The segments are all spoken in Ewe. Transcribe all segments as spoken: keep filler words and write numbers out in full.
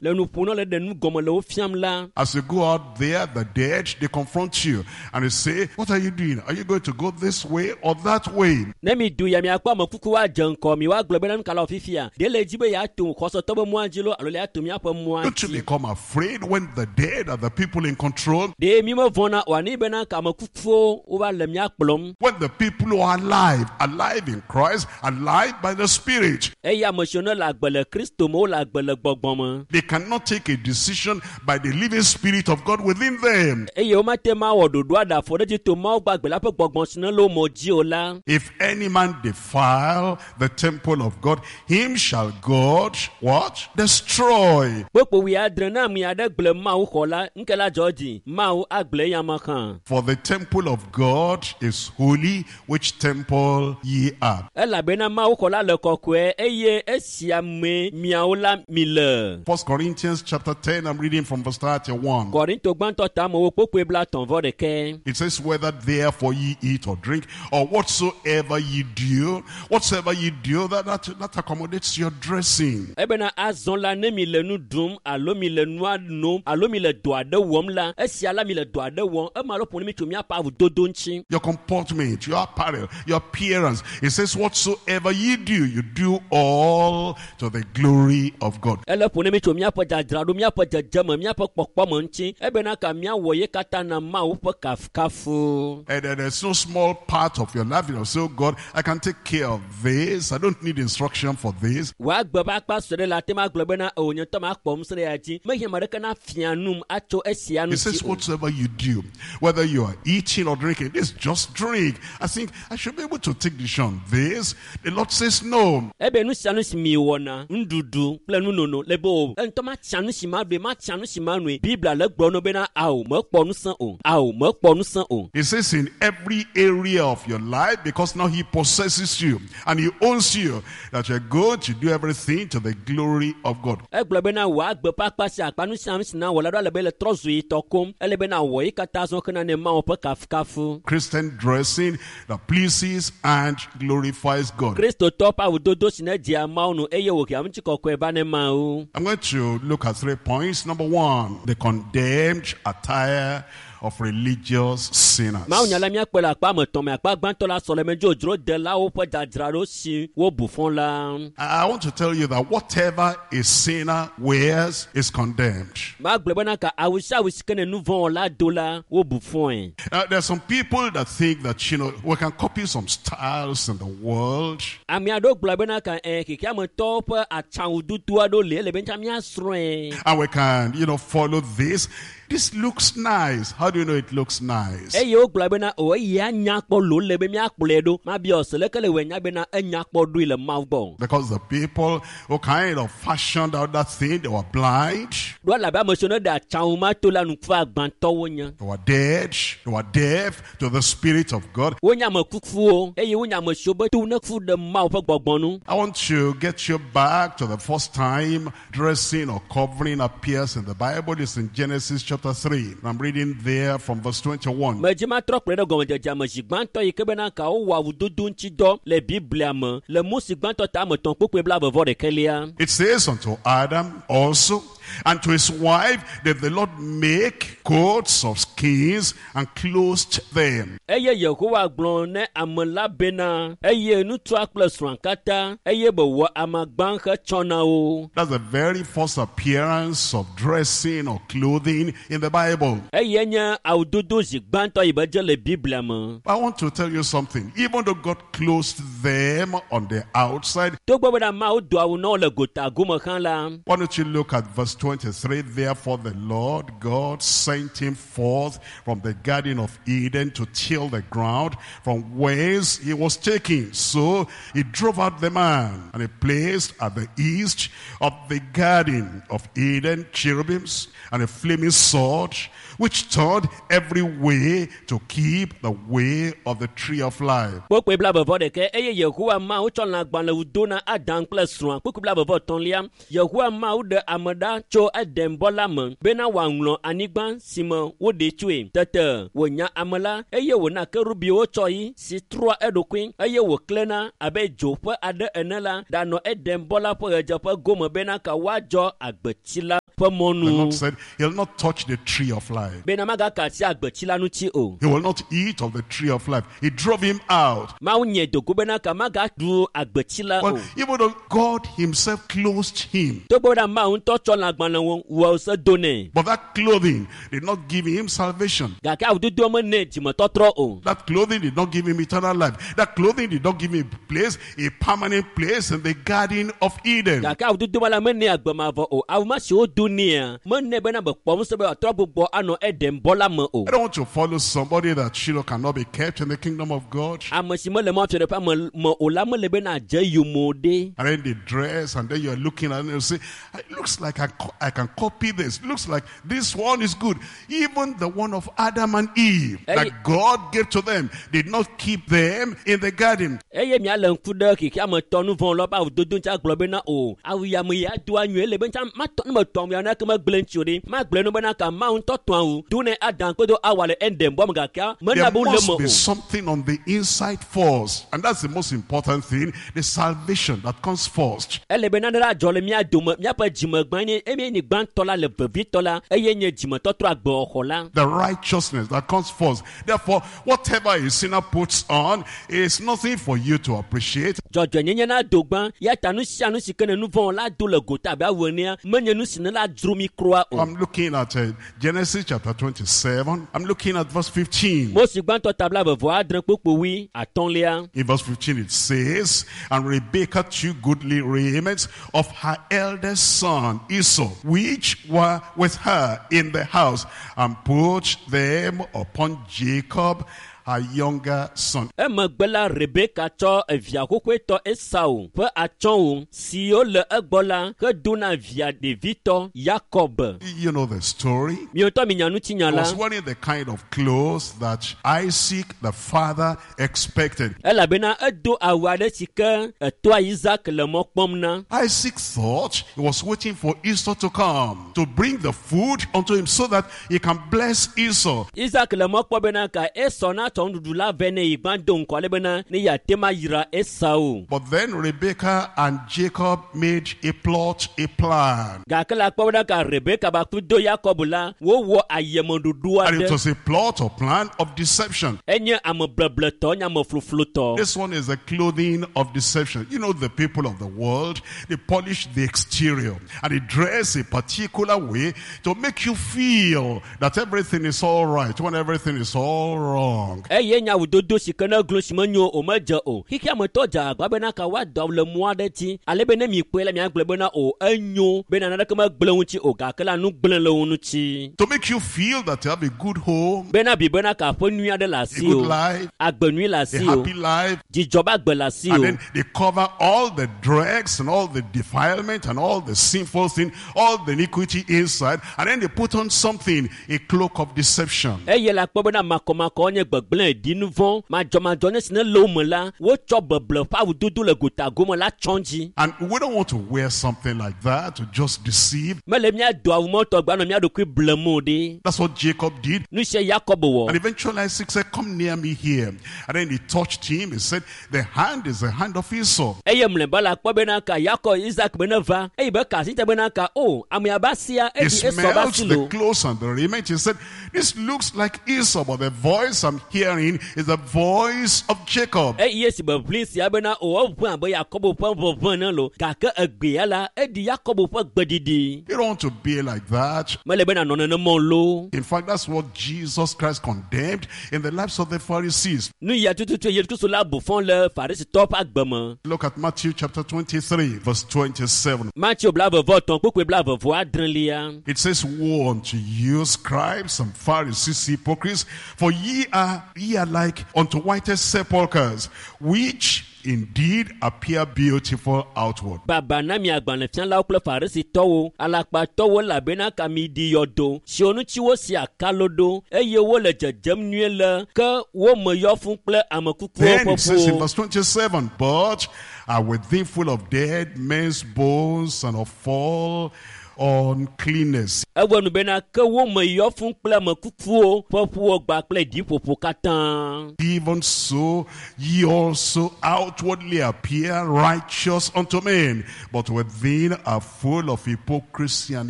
le nu ƒom na le ɖe nu gɔme le wo fiam la As you go out there, the dead, they confront you and they say, What are you doing? Are you going to go this way or that way? ne mi du ya miakpɔ ame kuku woadze ŋkɔ mi woagblɔ bena nu ka le wɔ fifia ɖe le dzi be yeato xɔsetɔ be mɔa dzi lo alo le yeato míaƒe mɔa Don't you dzi become afraid when the dead are the people in control? ɖe mi mevɔna o ani bena ka ame kukuwo wova le mía kplɔm When the people who are alive, alive in Christ, alive by the Spirit, eye ame siwo ne le agbe le kristo me wole agbe le gbɔgbɔ me they cannot take a decision by the living Spirit of God within them. eye womate ma wɔ ɖoɖo aɖe afɔ ɖe dzi to mawu gbagbe la ƒe gbɔgbɔ si ne le wo me dzi o la If any man defile the temple of God, him shall God what? Destroy. kpokpo wuiadre ne ame aɖe gblẽ mawu xɔ la ŋke la dzɔ dzi mawu agblẽ eyama hã For the temple of God is holy, which temple ye are. elabena mawu xɔ la le kɔkɔe eye esia mee miawo la mi le First Corinthians chapter ten, I'm reading from verse thirty-one. kɔrinto gbãtɔ tamewo kpokpoe bla etɔ̃ vɔ ɖekɛ It says, whether therefore ye eat or drink, or whatsoever ye do, whatsoever ye do, that, that, that accommodates your dressing. Ebena azɔ la ne mi le nu ɖum alo mi le nua nom alo mi le dɔ aɖe wɔm la esia la mi le dɔ aɖe wɔm ema alo ƒo ne mi tso míaƒe awudodo ŋuti Your comportment, your apparel, your appearance. It says, whatsoever ye do, you do all to the glory of God. Ele ƒo ne mi tso míaƒe dzadzraɖo míaƒe dzedzeme míaƒe kpɔkpɔme ŋuti ebena ka míawɔ ye katã na mawu ƒe kafukafu And then there's no small part of your life. You know, so God, I can take care of this. I don't need instruction for this. Wòagbe ƒe akpa sue ɖe le ate ma gblɔ bena o nye ŋutɔ makpɔ ŋusẽ ɖe ya dzi mehiã ame aɖeke na fia num atso esia It ŋuti says, o whatsoever you do, whether you are eating or drinking, this just drink. I think I should be able to take decision. This, the Lord says no. Ebe nu sia nu si mi wɔna nuɖuɖu kple nunono le be o ŋutɔ matsia nu si ma ɖue matsia nu si ma noe biblia le gblɔ no bena ao mekpɔ ŋusẽ o ao mekpɔ ŋusẽ o It says in every area of your life, because now he possesses you and he owns you, that you're going to do everything to the glory of God. Egblɔ bena wò agbe ƒe akpa sia akpa nu sia nu si na wɔ la ɖo ale be le trɔ zu yi tɔ kom ele bena wɔ yi katã zɔ hena ne mawu ƒe kafukafu Christian dressing that pleases and glorifies God. Kristotɔ ƒe awudodo si ne dzea mawu nu eye wòhea ŋutikɔkɔe va ne mawu I'm going to look at three points. Number one, the condemned attire of religious sinners. Mawu nya la míakpɔe le akpa ame etɔ̃ me akpa gbãtɔ la sɔleme dzodzro delawo ƒe dzadzraɖo si wobu fɔ la I I want to tell you that whatever a sinner wears is condemned. Magblɔ bena ka awu sia awu si ke ne nu vɔ̃ wɔla do la wobu fɔe Now, there are some people that think that, you know, we can copy some styles in the world. Ame aɖewo gblɔ bena ka ɛ xexeametɔwo ƒe atsãwududu aɖewo li ele be ŋutsa míasrɔ̃e And we can, you know, follow this. This looks nice. How do you know it looks nice? Eye wogblɔ bena o eya nya kpɔ lo le be míakplɔe ɖo mabia ɔse leke le wɔ nya bena enya kpɔ ɖoe le mawu gbɔ Because the people who kind of fashioned out that thing, they were blind, ɖo elabe ame siwo ne ɖe atsãwu ma to la nuku agbãtɔwo nye they were dead, they were deaf to the Spirit of God. Wonye ame kukuwo eye wonye ame siwo be to ne ku ɖe mawu ƒe gbɔgbɔ nu I want to get you back to the first time dressing or covering appears in the Bible. It's in Genesis chapter three. I'm reading there from verse twenty-one. Medzi matrɔ kplɔe ɖe gɔmedzedzea me zi gbãtɔ yi ke bena ka wowɔ awudodo ŋuti dɔ le biblia me le Mose gbãtɔ ta ame etɔ̃ kpokpoe blaeve vɔ ɖekɛlia It says, unto Adam also and to his wife did the Lord make coats of skins and clothed them. Eye yehowa gblɔ ne ame la bena eye ŋutsua kple srɔ̃a katã eye be wɔ amagba hetsɔ na wo That's the very first appearance of dressing or clothing in the Bible. Eye nye awudodo zi gbãtɔ yi be dze le biblia me I want to tell you something. Even though God clothed them on the outside, togbɔ bena mawu do awu na wo le gota gome hã la why don't you look at verse twenty-three? Therefore the Lord God sent him forth from the Garden of Eden to till the ground from whence he was taken. So he drove out the man, and he placed at the east of the Garden of Eden cherubims and a flaming sword, which turned Lord every way to keep the way of the tree of life. Kpukpui blaeve vɔ ɖekɛ eye Yehowa Mawu tsɔ lãgbalẽwu do na Adam kple srɔ̃a. Kpukpui blaeve vɔ etɔ̃lia Yehowa Mawu ɖe ame ɖa tso Edenbɔ la me bena wòaŋlɔ anyigba si me woɖee tsoe. Tete wònya ame la eye wòna kerubiwo tsɔ yi si trɔa eɖokui eye wòklẽna abe dzo ƒe aɖe ene la ɖanɔ Edenbɔ la ƒe ɣedzeƒe gome bena ka woadzɔ agbetsi la ƒe The mɔnu. Lord said, he'll not touch the tree of life. Bena magaka asi agbetsi la ŋuti o. He will not eat of the tree of life. He drove him out. Mawu nye dogo bena ka magaɖu agbetsi la Well, o. even though God himself closed him, Togbɔ bena Mawu ŋutɔ tsɔ lãgbalẽwo wɔ se do nɛ. but that clothing did not give him salvation. Gake awudodoa mene dzimetɔtrɔ o. That clothing did not give him eternal life. That clothing did not give him a place, a permanent place in the Garden of Eden. Gake awudodoa la mene agbemavɔ o. Awu ma si wodo nɛa mene bena be kpɔ ŋusẽ be wòatrɔ gbugbɔ anɔ Edenbɔ la me o. I don't want to follow somebody that you know cannot be kept in the kingdom of God. Ame si mele Mawu fiaɖuƒea me me o la mele bena adze yome o ɖe. And then they dress, and then you're looking at it and you say, it looks like I, co- I can copy this. Looks like this one is good. Even the one of Adam and Eve Hey. that God gave to them did not keep them in the garden. Eye miale ŋku ɖe xexea me tɔ nu vɔ̃ lɔ ƒe awudodo ŋuti agblɔ bena o awu ya me ya doa nyuie le be ŋuti matɔ ne metɔ awu ya nake megblẽ ŋuti o ɖe magblẽ nu bena ka Mawu ŋutɔ tɔ awu do ne Adam kple Awa le Edenbɔ me gake mena There be wole must me be o. something on the inside first. And that's the most important thing, the salvation that comes first. Ele be nane la dzɔ le mía dome míaƒe dzimegbã nye eye nye gbãtɔ la le vevitɔ la eye nye dzimetɔtrɔ agbexɔ la. The righteousness that comes first. Therefore, whatever a sinner puts on is nothing for you to appreciate. Dzɔdzɔenyenye na do gbã ya ta nu sia nu si ke ne nu vɔ̃ la do le gota abe awu enea menye nu si ne la dzro mi kura o. I'm looking at uh, Genesis chapter twenty-seven. I'm looking at verse fifteen. Mose gbãtɔ ta blaeve vɔ adre kpukpui atɔ̃lia. In verse fifteen it says, And Rebekah took goodly raiment of her eldest son Esau, which were with her in the house, and put them upon Jacob, her younger son. Emegbe la Rebeka tsɔ evia xoxoetɔ Esau ƒe atsyɔ̃wo siwo le egbɔ la hedo na via ɖevitɔ Yakob. You know the story. Mi ŋutɔ minya ŋutinya He la. was wearing the kind of clothes that Isaac the father expected. Elabena edo awu aɖe si ke etoa Isaac le mɔ kpɔm na. Isaac thought he was waiting for Esau to come, to bring the food unto him so that he can bless Esau. Isaac le mɔ kpɔ bena ka Esau natsɔ nuɖuɖu la vɛ ne yi gbã do ŋkɔ ale bena ne yeate ma yra Esau. But then Rebekah and Jacob made a plot, a plan. Gake la kpɔ bena ka Rebeka ba ku do Yakob la wowɔ ayemeɖoɖo And it aɖe. was a plot or plan of deception. Enye amebrebletɔ, nye amefluflutɔ. This one is the clothing of deception. You know, the people of the world, they polish the exterior and they dress a particular way to make you feel that everything is all right when everything is all wrong. Eye nye awudodo si ke ne glo si menyo o medze o. Xexea me tɔ dze agbagba bena ka woado awu le mɔ aɖe dzi ale be ne mikpɔe la miagblɔ bena o enyo bena naneke megblẽ ŋuti o gake la nu gblẽ le wo ŋuti. To make you feel that you have a good home, Bena bi bena ka aƒe nyui aɖe le a asi good o. life, Agbe nyui le a asi o. happy life. Dzidzɔ be agbe le asi And o. then they cover all the dregs and all the defilement and all the sinful thing, all the iniquity inside. And then they put on something, a cloak of deception. Eye la kpɔ bena makɔmakɔ nye gbegblẽ ɖi nu vɔ̃ madzɔmadzɔ nye si ne le wo me la wotsɔ beble ƒe awudodo le gota gome la tsɔ dzi. And we don't want to wear something like that to just deceive. Mele míado awu mɔtɔ gba nɔ mía ɖokui blem o ɖe. That's what Jacob did. Nu sia Yakob wɔ. And eventually Isaac said, come near me here. And then he touched him. He said, the hand is the hand of Esau. Eye mlɔeba la kpɔ bena ka Yakob Isaac be ne va eye be ka asi te bena ka o ame ya be asia He eɖi Esau be smelled asi the lo. clothes and the raiment. He said, this looks like Esau, but the voice I'm hearing is the voice of Jacob. Eye esi be ʋli sia bena o eʋẽ abe Yakob ƒe ʋeʋẽ ne lo gake egbea la eɖi Yakob ƒe gbeɖiɖi. You don't want to be like that. Mele be nanɔ nenema o lo. In fact, that's what Jesus Christ condemned in the lives of the Pharisees. Nu ya tututu Yesu Kristo la bu fɔ le Farisitɔwo ƒe agbe me. Look at Matthew chapter twenty-three, verse twenty-seven. Mateo blaeve vɔ etɔ̃ kpukpui blaeve vɔ adrelia. It says, woe unto you, scribes and Pharisees, hypocrites, for ye are ye are like unto whitest sepulchres, which indeed appear beautiful outward. Baba na mi agbalẽfialawo kple farisitɔwo, alakpatɔwo elabena ka mi ɖi yɔdo siwo ŋuti wosi akalo ɖo eye wole dzedzem nyuie le ke wo me yɔ fũ kple ame kukuwo Then ƒe it says in ƒuwo. verse twenty-seven, but are within full of dead men's bones and of all uncleanness. Ewɔ nu bena ke wo me yɔ fũ kple ame kukuwo ƒe ƒuwo gba kple ɖiƒoƒo katã. Even so, ye also outwardly appear righteous unto men, but within are full of hypocrisy and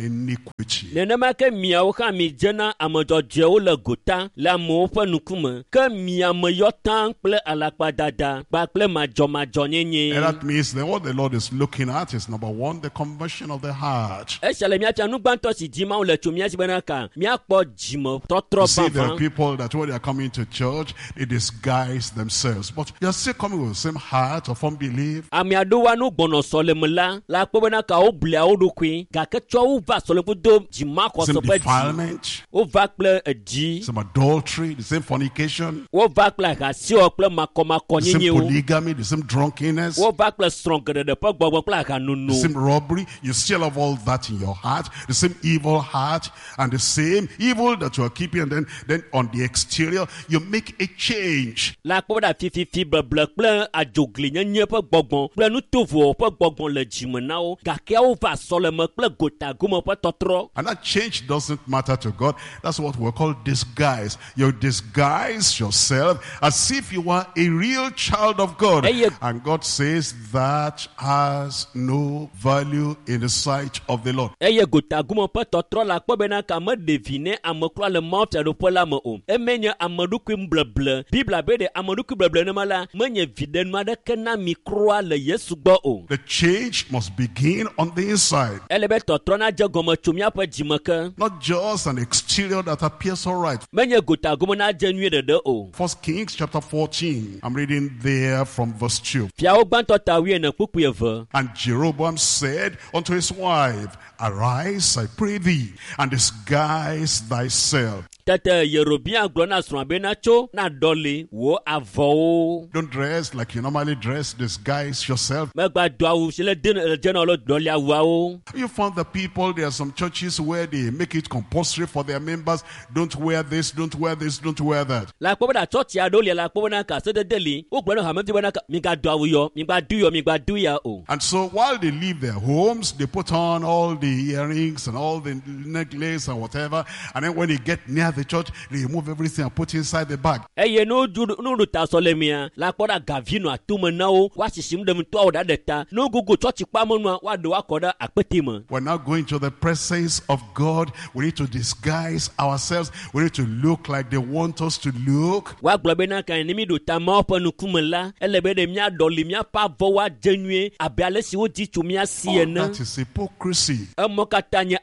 iniquity. Nenema ke miawo hã mi dzena ame dzɔdzɔewo le gota le amewo ƒe ŋkume, ke mia me yɔ taŋ kple alakpadada kpakple madzɔmadzɔnyenye. And that means then what the Lord is looking at is number one, the conversion of the heart. Esia le míafia nu gbãtɔ si di Mawu le tso mía si bena ka míakpɔ dzimetɔtrɔ You see, there are vavã. people that when they are coming to church, they disguise themselves. But they are still coming with the same heart of unbelief. Ame aɖewo nu gbɔnɔ sɔleme la la kpɔ bena ka woblia wo ɖokui gake tsɔ wo va sɔleme do dzimaxɔse Same ƒe dzi. defilement, Wova kple edzi. same adultery, the same fornication, Wova kple ahasiwɔ kple the same makɔmakɔnyenyewo. polygamy, the same drunkenness, Wova kple srɔ̃ geɖeɖe ƒe gbɔgbɔ kple ahanono. the same robbery. You still have all that in your heart, the same evil heart and the same evil that you are keeping. And then, then on the exterior, you make a change. La kpɔ bena fififi bleble kple adzoglinyenye ƒe gbɔgbɔ kple nutovowo ƒe gbɔgbɔ le dzime na wo gake wova sɔleme kple gotagome ƒe tɔtrɔ. And that change doesn't matter to God. That's what we call disguise. You disguise yourself as if you were a real child of God. Hey, you- And God says that has no value in the sight of the Lord. Eye gotagome ƒe tɔtrɔ la kpɔ bena ka meɖe vi ne ame kura le Mawu fiaɖuƒe la me o. Eme nye ame ɖokui bleble. Biblia be ɖe ame ɖokui bleble nema la menye viɖenu aɖeke na mi kura le Yesu gbɔ o. The change must begin on the inside. Ele be tɔtrɔ nadze gɔme tso míaƒe dzime ke. Not just an exterior that appears all right. Menye gotagome nadze nyuie ɖeɖe o. First Kings chapter fourteen. I'm reading there from verse two. Fiawo gbãtɔ ta wuiene kpukpui eve. And Jeroboam said unto his wife, Arise, I pray thee, and disguise thyself. Tete Yerobeam gblɔ na srɔ̃a bena tso na ɖɔli wò avɔwo. Don't dress like you normally dress. Disguise yourself. Megba do awu si le de le dze na wo le ɖɔli awuawo. You found the people, there are some churches where they make it compulsory for their members. Don't wear this, don't wear this, don't wear that. Le akpɔ bena tsɔtsi aɖewo lia le akpɔ bena ka sedede li wogblɔ na hamevi bena ka migado awu yɔ migba do yɔ migba do ya o. And so while they leave their homes, they put on all the earrings and all the necklace and whatever. And then when they get near the church, they remove everything and put inside the bag. Eye ne wodu ne woɖo ta sɔlemea le akpɔ ɖe gavi nɔ atome na wo woasisim ɖem to awo ɖa ɖe ta ne wogogo tsɔtsi kpamenua woaɖe woakɔ ɖe akpete me. We're now going to the presence of God. We need to disguise ourselves. We need to look like they want us to look. Woagblɔ bena ka ne mi ɖo ta Mawu ƒe ŋkume la ele be ɖe míaɖɔli míaƒe avɔwo adze nyuie abe ale si wodzi tso mía si All ene. that is hypocrisy. Emɔ katã nye Put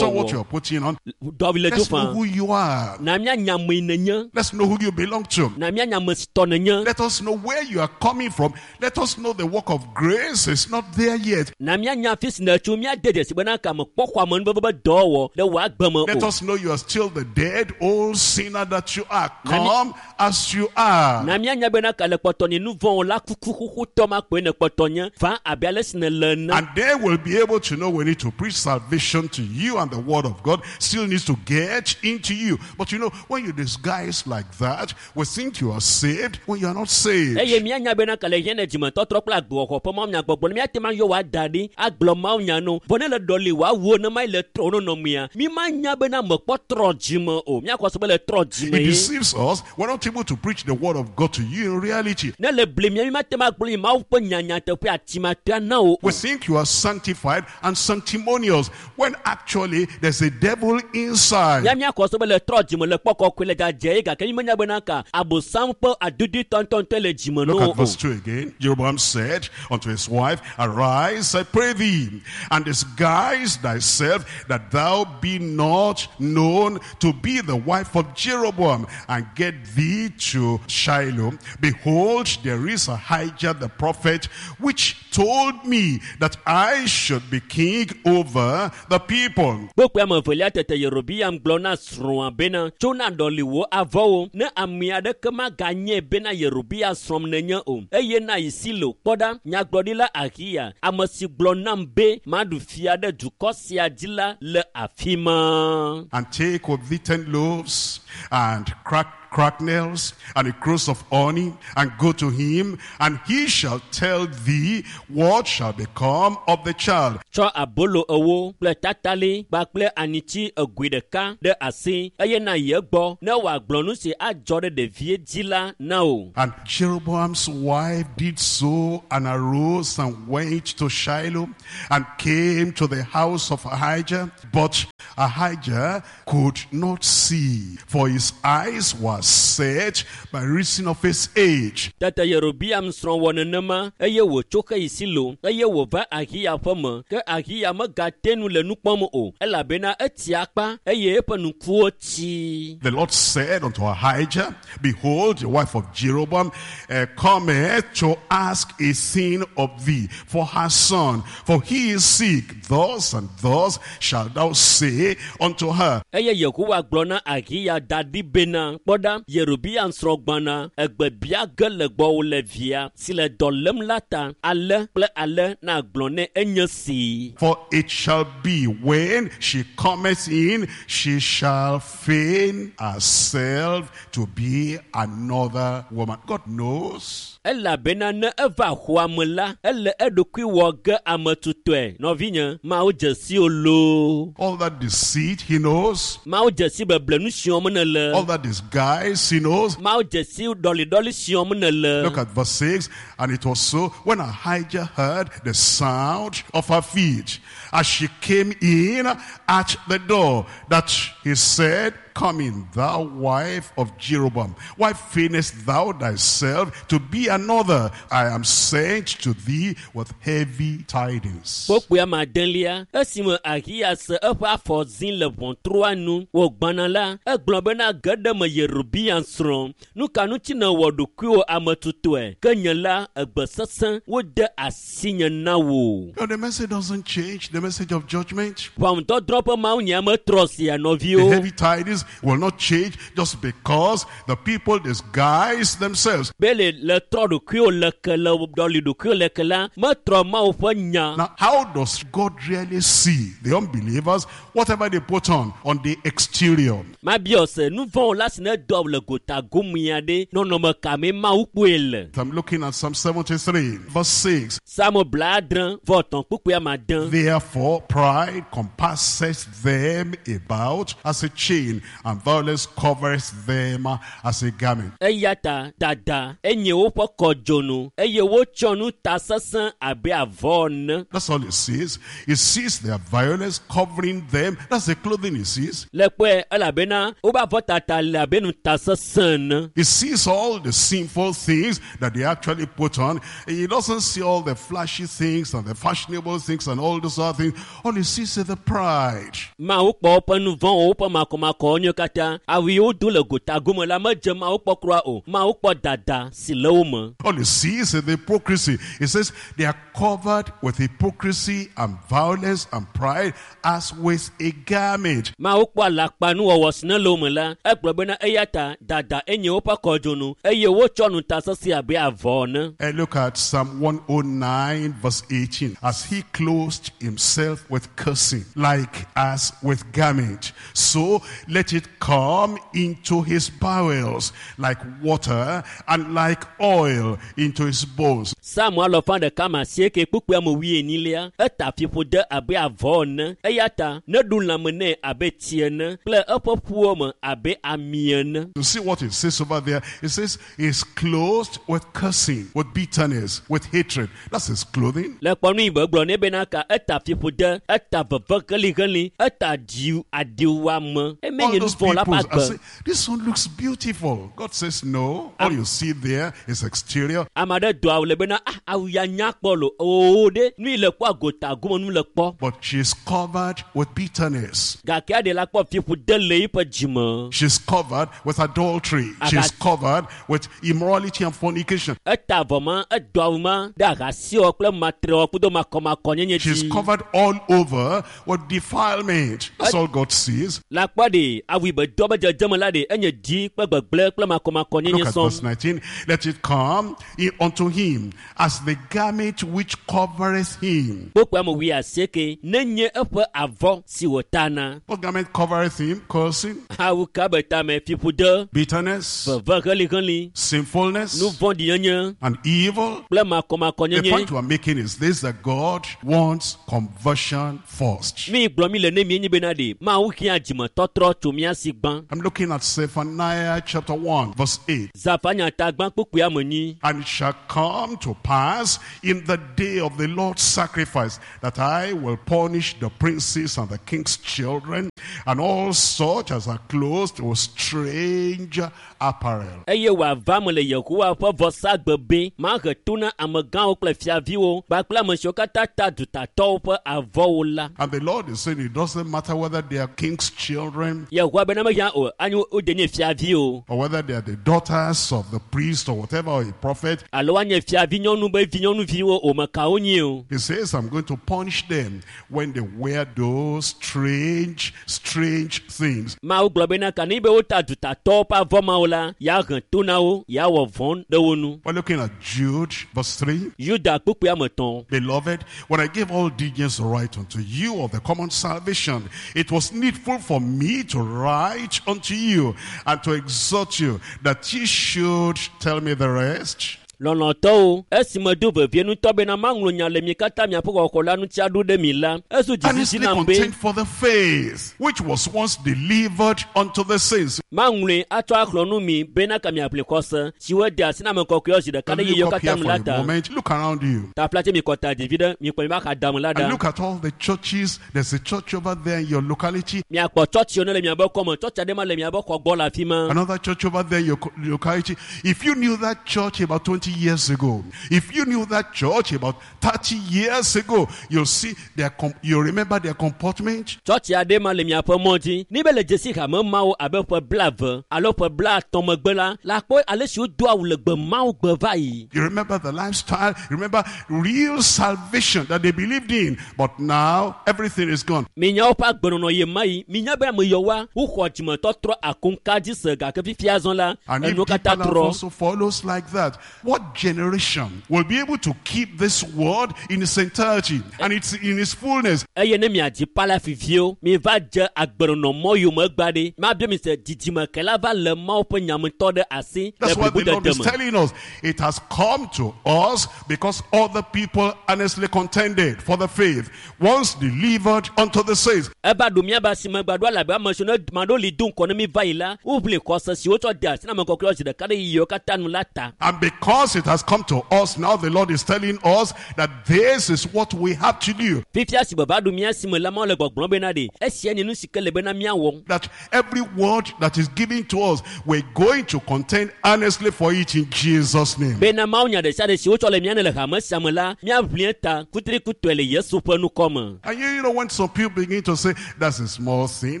on what alakpanuwɔwɔ. you are putting on. Dɔvi le do Let's know fã. who you are. Na míanya ame yi nenye. Let's know who you belong to. Na míanya ame si tɔ nenye. Let us know where you are coming from. Let us know the work of grace is not there yet. Na míanya afi si nètso míade dzesi bena ka mekpɔ xɔ amenuveve be dɔwɔwɔ ɖe wò agbe me Let o. us know you are still the dead old sinner that you are. Nami- Come as you are. Na míanya bena ka le kpɔtɔ nye nu vɔ̃ la kuku xoxotɔ ma koe ne kpɔtɔ nye va abe ale si nèle ene. And then we'll be able to know we need to preach salvation to you, and the word of God still needs to get into you. But you know, when you disguise like that, we think you are saved when you are not saved. Eye míanya bena ka le hiã ne dzimetɔtrɔ kple agbewɔxɔ ƒe mawunyagbɔgblɔ ne míate ŋu ayɔ wò ada ɖi agblɔ mawunya no vɔ ne le ɖɔli wò awuwo ne ma yi le trɔ wo nɔnɔmea mi ma nya bena mekpɔ trɔ dzime o míakɔ se be le trɔ dzime It ye. deceives us. We're not able to preach the word of God to you in reality. Ne le bli mía mi mate ŋu agblɔ yi Mawu ƒe nya nyateƒe atimatea na wo o. We think you are sanctified and sanctimonious when actually there's a devil inside. Mía míakɔ se be le trɔ dzime le kpɔ kɔkɔe le dzadze ye gake mi menya bena ka abosam ƒe adudui tɔntɔntɔe le dzime Look no at o. verse two again. Jeroboam said unto his wife, Arise, I pray thee, and disguise thyself, that thou be not known to be the wife of Jeroboam, and get thee to Shiloh. Behold, there is Ahijah the prophet, which told me that I should be king over the people. Kpokpoe ame evelia tete Yerobeam gblɔ na srɔ̃a srɔ̃a bena tso na ɖɔli wò avɔwo ne ame aɖeke maganye bena Yerobeam srɔ̃m nenye o eye na yi Silo kpɔ ɖa nyagblɔɖila Ahiya ame si gblɔ nam be maɖu fia ɖe dukɔ sia dzi la le afi ma. And take with thee ten loaves and crack cracknels and a cruse of honey, and go to him, and he shall tell thee what shall become of the child. Tsɔ abolo ewo kple tatali kpakple anitsi egoe ɖeka ɖe asi eye na yi egbɔ ne wòagblɔ nu si adzɔ ɖe ɖevie dzi la na wò. And Jeroboam's wife did so, and arose and went to Shiloh, and came to the house of Ahijah. But Ahijah could not see, for his eyes were set by reason of his age. Tete Yerobeam srɔ̃ wɔ nenema eye wòtso xe yi Silo eye wòva Ahiya ƒe me ke Ahiya megate nu le nu kpɔm o elabena etsi akpa eye eƒe ŋkuwo tsi. The Lord said unto Ahijah, Behold, the wife of Jeroboam uh, cometh to ask a thing of thee for her son, for he is sick. Thus and thus shalt thou say unto her. Eye Yehowa gblɔ na Ahiya da ɖi bena kpɔ ɖa Yerobeam srɔ̃ gbɔna egbe bia ge le gbɔwò le via si le dɔ lém la ta ale kple ale nagblɔ nɛ enye si. For it shall be when she cometh in, she shall feign herself to be another woman. God knows. Elabena ne eva xɔa me la, ele eɖokui wɔ ge ame tutɔe. Nɔvinye, Mawu dze si wo loo. All that deceit, he knows. Mawu dze si beble nu si wɔm nèle. All that disguise, he knows. Mawu dze si ɖɔliɖɔli si wɔm nèle. Look at verse six. And it was so when Ahijah heard the sound of her feet as she came in at the door, that he said, Come in, thou wife of Jeroboam. Why feignest thou thyself to be another? I am sent to thee with heavy tidings. Kpokpoe ame adelia, esime Ahiya se eƒe afɔ zi le ʋɔtrua nu wògbãna la, egblɔ bena ge ɖe me Yerobeam srɔ̃. Nu ka ŋuti nèwɔ ɖokuiwò ame tutɔe? Ke nye la, egbe sesẽ wode asinye na wò. No, the message doesn't change, the message of judgment. Ʋɔnudɔdrɔ̃ ƒe mawunya metrɔ sia The nɔviwo. heavy tidings will not change just because the people disguise themselves. Be le le trɔ ɖokuiwò le ke le ɖɔli ɖokuiwò le ke la, metrɔ Mawu ƒe nya. Now, how does God really see the unbelievers, whatever they put on, on the exterior? Mabiɔ se nu vɔ̃ la si ne dɔ le gota gomea ɖe nɔnɔme ka mee Mawu kpɔe le. I'm looking at Psalm seventy-three, verse six. Psalm blaadre vɔ etɔ̃ kpukpui ame ade. Therefore, pride compasses them about as a chain, and violence covers them as a garment. Eya ta dada enye woƒe kɔdzonu eye wotsɔ nu ta sesẽ abe avɔ ene. That's all he sees. He sees their violence covering them. That's the clothing he sees. Le kpɔe elabena woƒe avɔtata le abe nu ta sesẽ ene. He sees all the sinful things that they actually put on. He doesn't see all the flashy things and the fashionable things and all those other things. All he sees is the pride. Mawu kpɔ woƒe nu vɔ̃wo, woƒe makɔmakɔwo nyuie katã. Awu yi wodo le gota gome la medze Mawu kpɔ kura o. Mawu kpɔ dada si le wo me. All he sees is the hypocrisy. He says they are covered with hypocrisy and violence and pride as with a garment. Mawu kpɔ alakpanuwɔwɔ si ne le wo me la, egblɔ bena eya ta dada enye woƒe kɔdzonu eye wotsɔ nu ta sesẽ abe avɔ ene. And look at Psalm one oh nine verse eighteen. As he clothed himself with cursing, like as with garment, so let it come into his bowels like water and like oil into his bones. Psalm alɔfa ɖeka ma asieke kpukpui ame wuienyilia, eta fiƒode abe avɔ ene. Eya ta neɖu lãme nɛ abe tsi ene kple eƒe ƒuwo me abe ami ene. You see what it says over there? It says he's clothed with cursing, with bitterness, with hatred. That's his clothing. Le kpɔnu yi be gblɔ nɛ bena ka eta fiƒode, eta veve helihelĩ, eta dzi adiwuame. Eme All nye nu those vɔ̃ la people ƒe are agbe. saying, this one looks beautiful. God says no. All you see there is exterior. Ame aɖe do awu le bena, ah, awu ya nya kpɔ lo. Oo ɖe, nu yi le kpɔ agota gome nu le kpɔ. But she's covered with bitterness. Gake aɖe la kpɔ fiƒode le eƒe dzime. She's covered with adultery. She's covered with immorality and fornication. Eta avɔ ma, edo awu ma ɖe ahasiwɔ kple matrewɔ kudo makɔmakɔnyenye She's dzi. covered all over with defilement. That's all God sees. La kpɔ ɖe, Awu be dɔ be dzedzeme la ɖe enye dzi kple gbegblẽ kple makɔmakɔnyenye Look at sɔŋ. verse nineteen. Let it come in unto him as the garment which covereth him. Kpokpo ame wui asieke nenye eƒe avɔ si wòtana. What garment covereth him? Cursing, Awu ka be tame fiƒode, bitterness, veve heliheli, sinfulness, nu vɔ̃ɖinyenye and evil. kple The makɔmakɔnyenye. point we are making is this, that God wants conversion first. Mi gblɔ mi le ne mienyi bena ɖe Mawu hiã dzimetɔtrɔ tso mía si gbã. I'm looking at Zephaniah chapter one, verse eight. Zafanya ta gbã kpukpui ame nyi. And it shall come to pass in the day of the Lord's sacrifice that I will punish the princes and the king's children and all such as are clothed with strange apparel. Eye wòava me le Yehowa ƒe vɔsagbe be mahe to na amegãwo kple fiaviwo kpakple ame siwo katã ta dutatɔwo ƒe avɔwo la. And the Lord is saying it doesn't matter whether they are king's children Yehowa bena mehiã o anyi wode nye fiavi o or whether they are the daughters of the priest or whatever, or a prophet. alo woanye fiavi nyɔnu be vinyɔnuviwo o mekawo nyi o. He says, I'm going to punish them when they wear those strange, strange things. Mawu gblɔ bena ka ne be wota dutatɔwo ƒe avɔ mawo la, yeahe to na wo, yeawɔ vɔ̃ ɖe wo nu. We're looking at Jude, verse three. Yuda kpukpui ame etɔ̃. Beloved, when I gave all diligence to write unto you of the common salvation, it was needful for me to write unto you and to exhort you that ye should tell me the rest. Lɔlɔ̃tɔwo, esi medo vevie ŋutɔ bena maŋlɔ nya le mi katã miaƒe xɔxɔ la ŋuti aɖo ɖe mi la, ezu dzizidzi Earnestly nam be contend for the faith which was once delivered unto the saints. maŋlɔe atsɔ axlɔ nu mi bena ka miaʋli xɔse si wode asi na ame kɔkɔewo zi ɖeka And ɖe yiyiwo look up katã here me for la a ta. moment. Look around you. Taflatse mi kɔta ɖevi ɖe mikpɔ mi va xa dame la And ɖa. look at all the churches. There's a church over there in your locality. Miakpɔ tsɔtsiwo ne le miabe kɔme, tsɔtsi aɖe ma le miabe xɔ gbɔ le afi ma. Another church over there in your co- locality. If you knew that church about twenty years ago, if you knew that church about thirty years ago, you'll see their com- you'll remember their comportment. Tsɔtsi aɖe ma le miaƒe mɔ dzi. Ni be le dzesi hame mawo abe ƒe blaeve alo ƒe blaatɔ̃ megbe la, la kpɔ ale si wodo awu le gbe mawo gbe va yi. You remember the lifestyle, you remember real salvation that they believed in. But now everything is gone. Minya woƒe agbenɔnɔ ye ma yi. Minya be ame yɔwoa, woxɔ dzimetɔtrɔ akoŋka dzi se gake fifia zɔ la, And if enuwo katã deeper life trɔ. also follows like that, what generation will be able to keep this word in its entirety and it's in its fullness? Eye ne miadzi palafiviwo, miva dze agbenɔnɔ mɔ yome gba ɖe. Mabia mi se dzidzime ke la va le Mawu ƒe nyametɔ ɖe asi le That's what the Lord blibodede is me. telling us. It has come to us because other people earnestly contended for the faith, once delivered unto the saints. Eva ɖo míabe asime gba ɖo elabe ame siwo ne maɖewo li do ŋkɔ ne mi va yi la, woʋli xɔse si wotsɔ de asi na ame kɔkɔewo zi ɖeka ɖe yiyiwo katã nu la ta. And because it has come to us now, the Lord is telling us that this is what we have to do. Fifia si be va ɖo mía si me la, Mawu le gbɔgblɔm bena ɖe, esia nye nu si ke le bena míawɔ. That every word that is given to us, we're going to contend earnestly for it in Jesus' name. Bena Mawu nya ɖe sia ɖe si wotsɔ le mía ne le hame sia me la, míaʋli eta kutrikutɔe le Yesu ƒe nukɔ me. And you, you know, when some people begin to say, that's a small thing,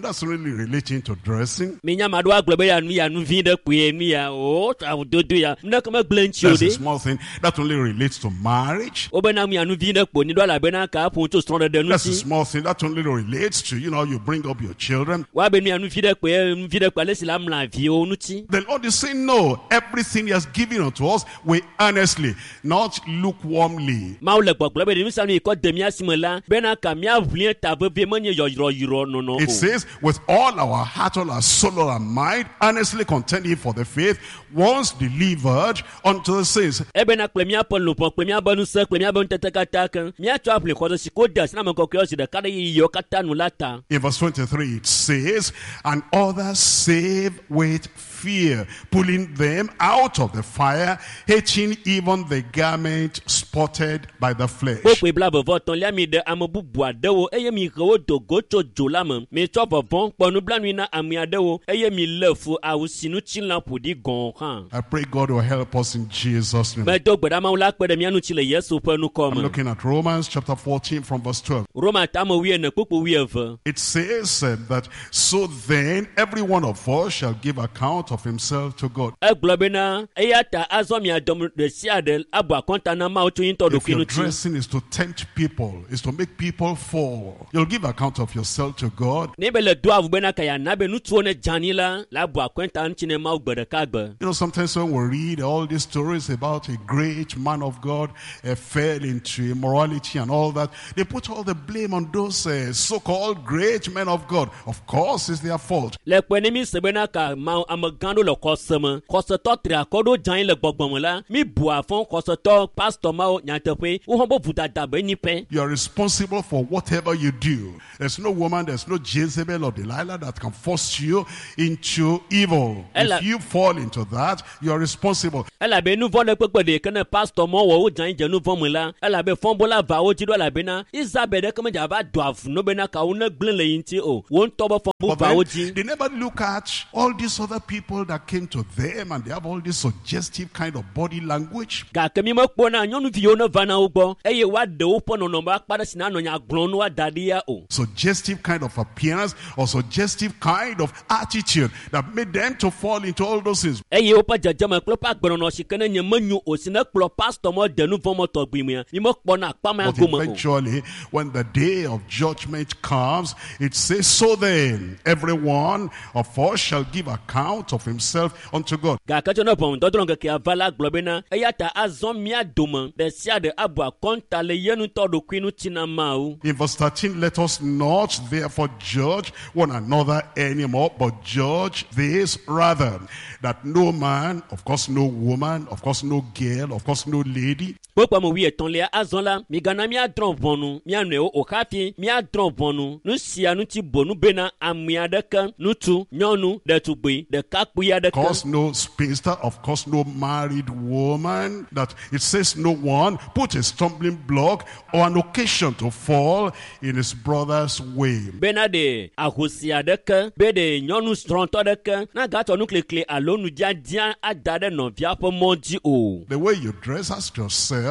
that's really relating to dressing. Minya ame aɖewo agblɔ be ya nu ya nu vi ɖe kpoe nu ya o awudodo ya nu ɖeke megblẽ ŋuti o That's a ɖe. small thing. That only relates to marriage. Wobena nu ya nu vi ɖe kpo ni ɖo elabena ka ƒo tso srɔ̃ɖeɖe That's a ŋuti. small thing. That only relates to, you know, you bring up your children. Woabe nu ya nu vi ɖe kpoe nu vi ɖe kpo ale si la mla viwo ŋuti. The Lord is saying, no, everything He has given unto us, we earnestly, not lukewarmly. Mawu le gbɔgblɔ be ɖe nu sia nu yi kɔ de mía si me la bena ka míaʋli eta vevie menye yɔyrɔyrɔ nɔnɔ It o. says, with all our heart, all our soul, all our mind, earnestly contending for the faith, once delivered unto the saints. Ebena kple míaƒe luʋɔ kple míaƒe ŋusẽ kple míaƒe ŋutete katã ke míatsɔ aʋli xɔse si ko de asi na ame kɔkɔewo zi ɖeka ɖe yiyiwo katã nu la ta. In verse twenty-three, it says, and others save with fear, pulling them out of the fire, hating even the garment spotted by the flesh. Kpokpoe blaeve vɔ etɔ̃lia mi ɖe ame bubu aɖewo eye mi he wo do go tso dzo la me. Mi tsɔ vɔvɔ̃ kpɔ nublanui na ame aɖewo eye mi lé fu awu si ŋutilã ƒo ɖi gɔ̃ hã. I pray God will help us in Jesus' Jesus' name. Medo gbe ɖa Mawu la kpe ɖe mía ŋuti le Yesu ƒe ŋkɔ I'm me. looking at Romans chapter fourteen from verse twelve. Roma tame wuiene kpukpu wuieve. It says uh, that, so then every one of us shall give account of himself to God. Egblɔ bena eya ta azɔ mia dɔm ɖe sia ɖe abu akɔnta na Mawu tso ye ŋutɔ If ɖokui your ŋuti. dressing is to tempt people, is to make people fall, you'll give account of yourself to God. Ne be le do awu bena ka yeana be ŋutsuwo ne dze anyi la, la bu akɔnta ŋuti ne Mawu gbe ɖeka gbe. You know, sometimes when we read all these stories about a great man of God uh, fell into immorality and all that, they put all the blame on those uh, so-called great men of God. Of course, it's their fault. Le kpe ne mi se bena ka ma amegã ɖewo le xɔse me, xɔsetɔ tri akɔ ɖewo dze anyi le gbɔgbɔ me la, mi bu afɔ xɔsetɔ pastor mawo nyateƒe, wo hã be vodada be nyi pɛ. You are responsible for whatever you do. There's no woman, there's no Jezebel or Delilah that can force you into evil. Ella- If you fall into that, you are responsible. Elabe nu vɔ̃ ɖe kpekpe ɖe ke ne pastor mɔ wɔ wo dze anyi dze nu vɔ̃ me la, elabe fɔ̃bola va wo dzi ɖo elabena Isabel ɖeke medze ava do avu no bena kawo ne gblẽ le yi ŋuti o. Wo ŋutɔ be fɔ̃bu But va wo then, dzi. they never look at all these other people that came to them and they have all this suggestive kind of body language. Gake mi mekpɔna nyɔnuviwo ne va na wo gbɔ eye woaɖe woƒe nɔnɔme akpa ɖe si nanɔ nya gblɔm ne woada ɖi ya o. Suggestive kind of appearance or suggestive kind of attitude that made them to fall into all those things. Eye woƒe dzedzeme kple woƒe agbenɔnɔ si ke ne nye menyo o si ne kplɔ pastor mɔ de nu vɔ̃ mɔ tɔgbi mea, mi mekpɔna akpa mea But gome o. eventually, when the day of judgment comes, it says, so then, every one of us shall give account of himself unto God. Gake tso ne ʋɔnudɔdrɔ̃ ŋkekea va la gblɔ bena eya ta azɔ mía dome ɖe sia ɖe abu akɔnta le ye ŋutɔ ɖokui ŋuti na Mawu. In verse thirteen, let us not therefore judge one another anymore, but judge this rather, that no man, of course no woman, of course no girl, of course no lady, Kpokpɔ me wuietɔ̃lia azɔ la, migana míadrɔ̃ ʋɔnu mía nɔewo o hafi míadrɔ̃ ʋɔnu nu sia ŋuti bonu bena ame aɖeke, ŋutsu, nyɔnu, ɖetugbui, ɖekakpui of aɖeke, course no spinster, of course no married woman, that it says no one put a stumbling block or an occasion to fall in his brother's way. bena ɖe ahosi aɖeke, be ɖe nyɔnu srɔ̃tɔ aɖeke nagatsɔ nuklikli alo nudzadzia ada ɖe nɔvia ƒe mɔ dzi o. The way you dress, ask yourself,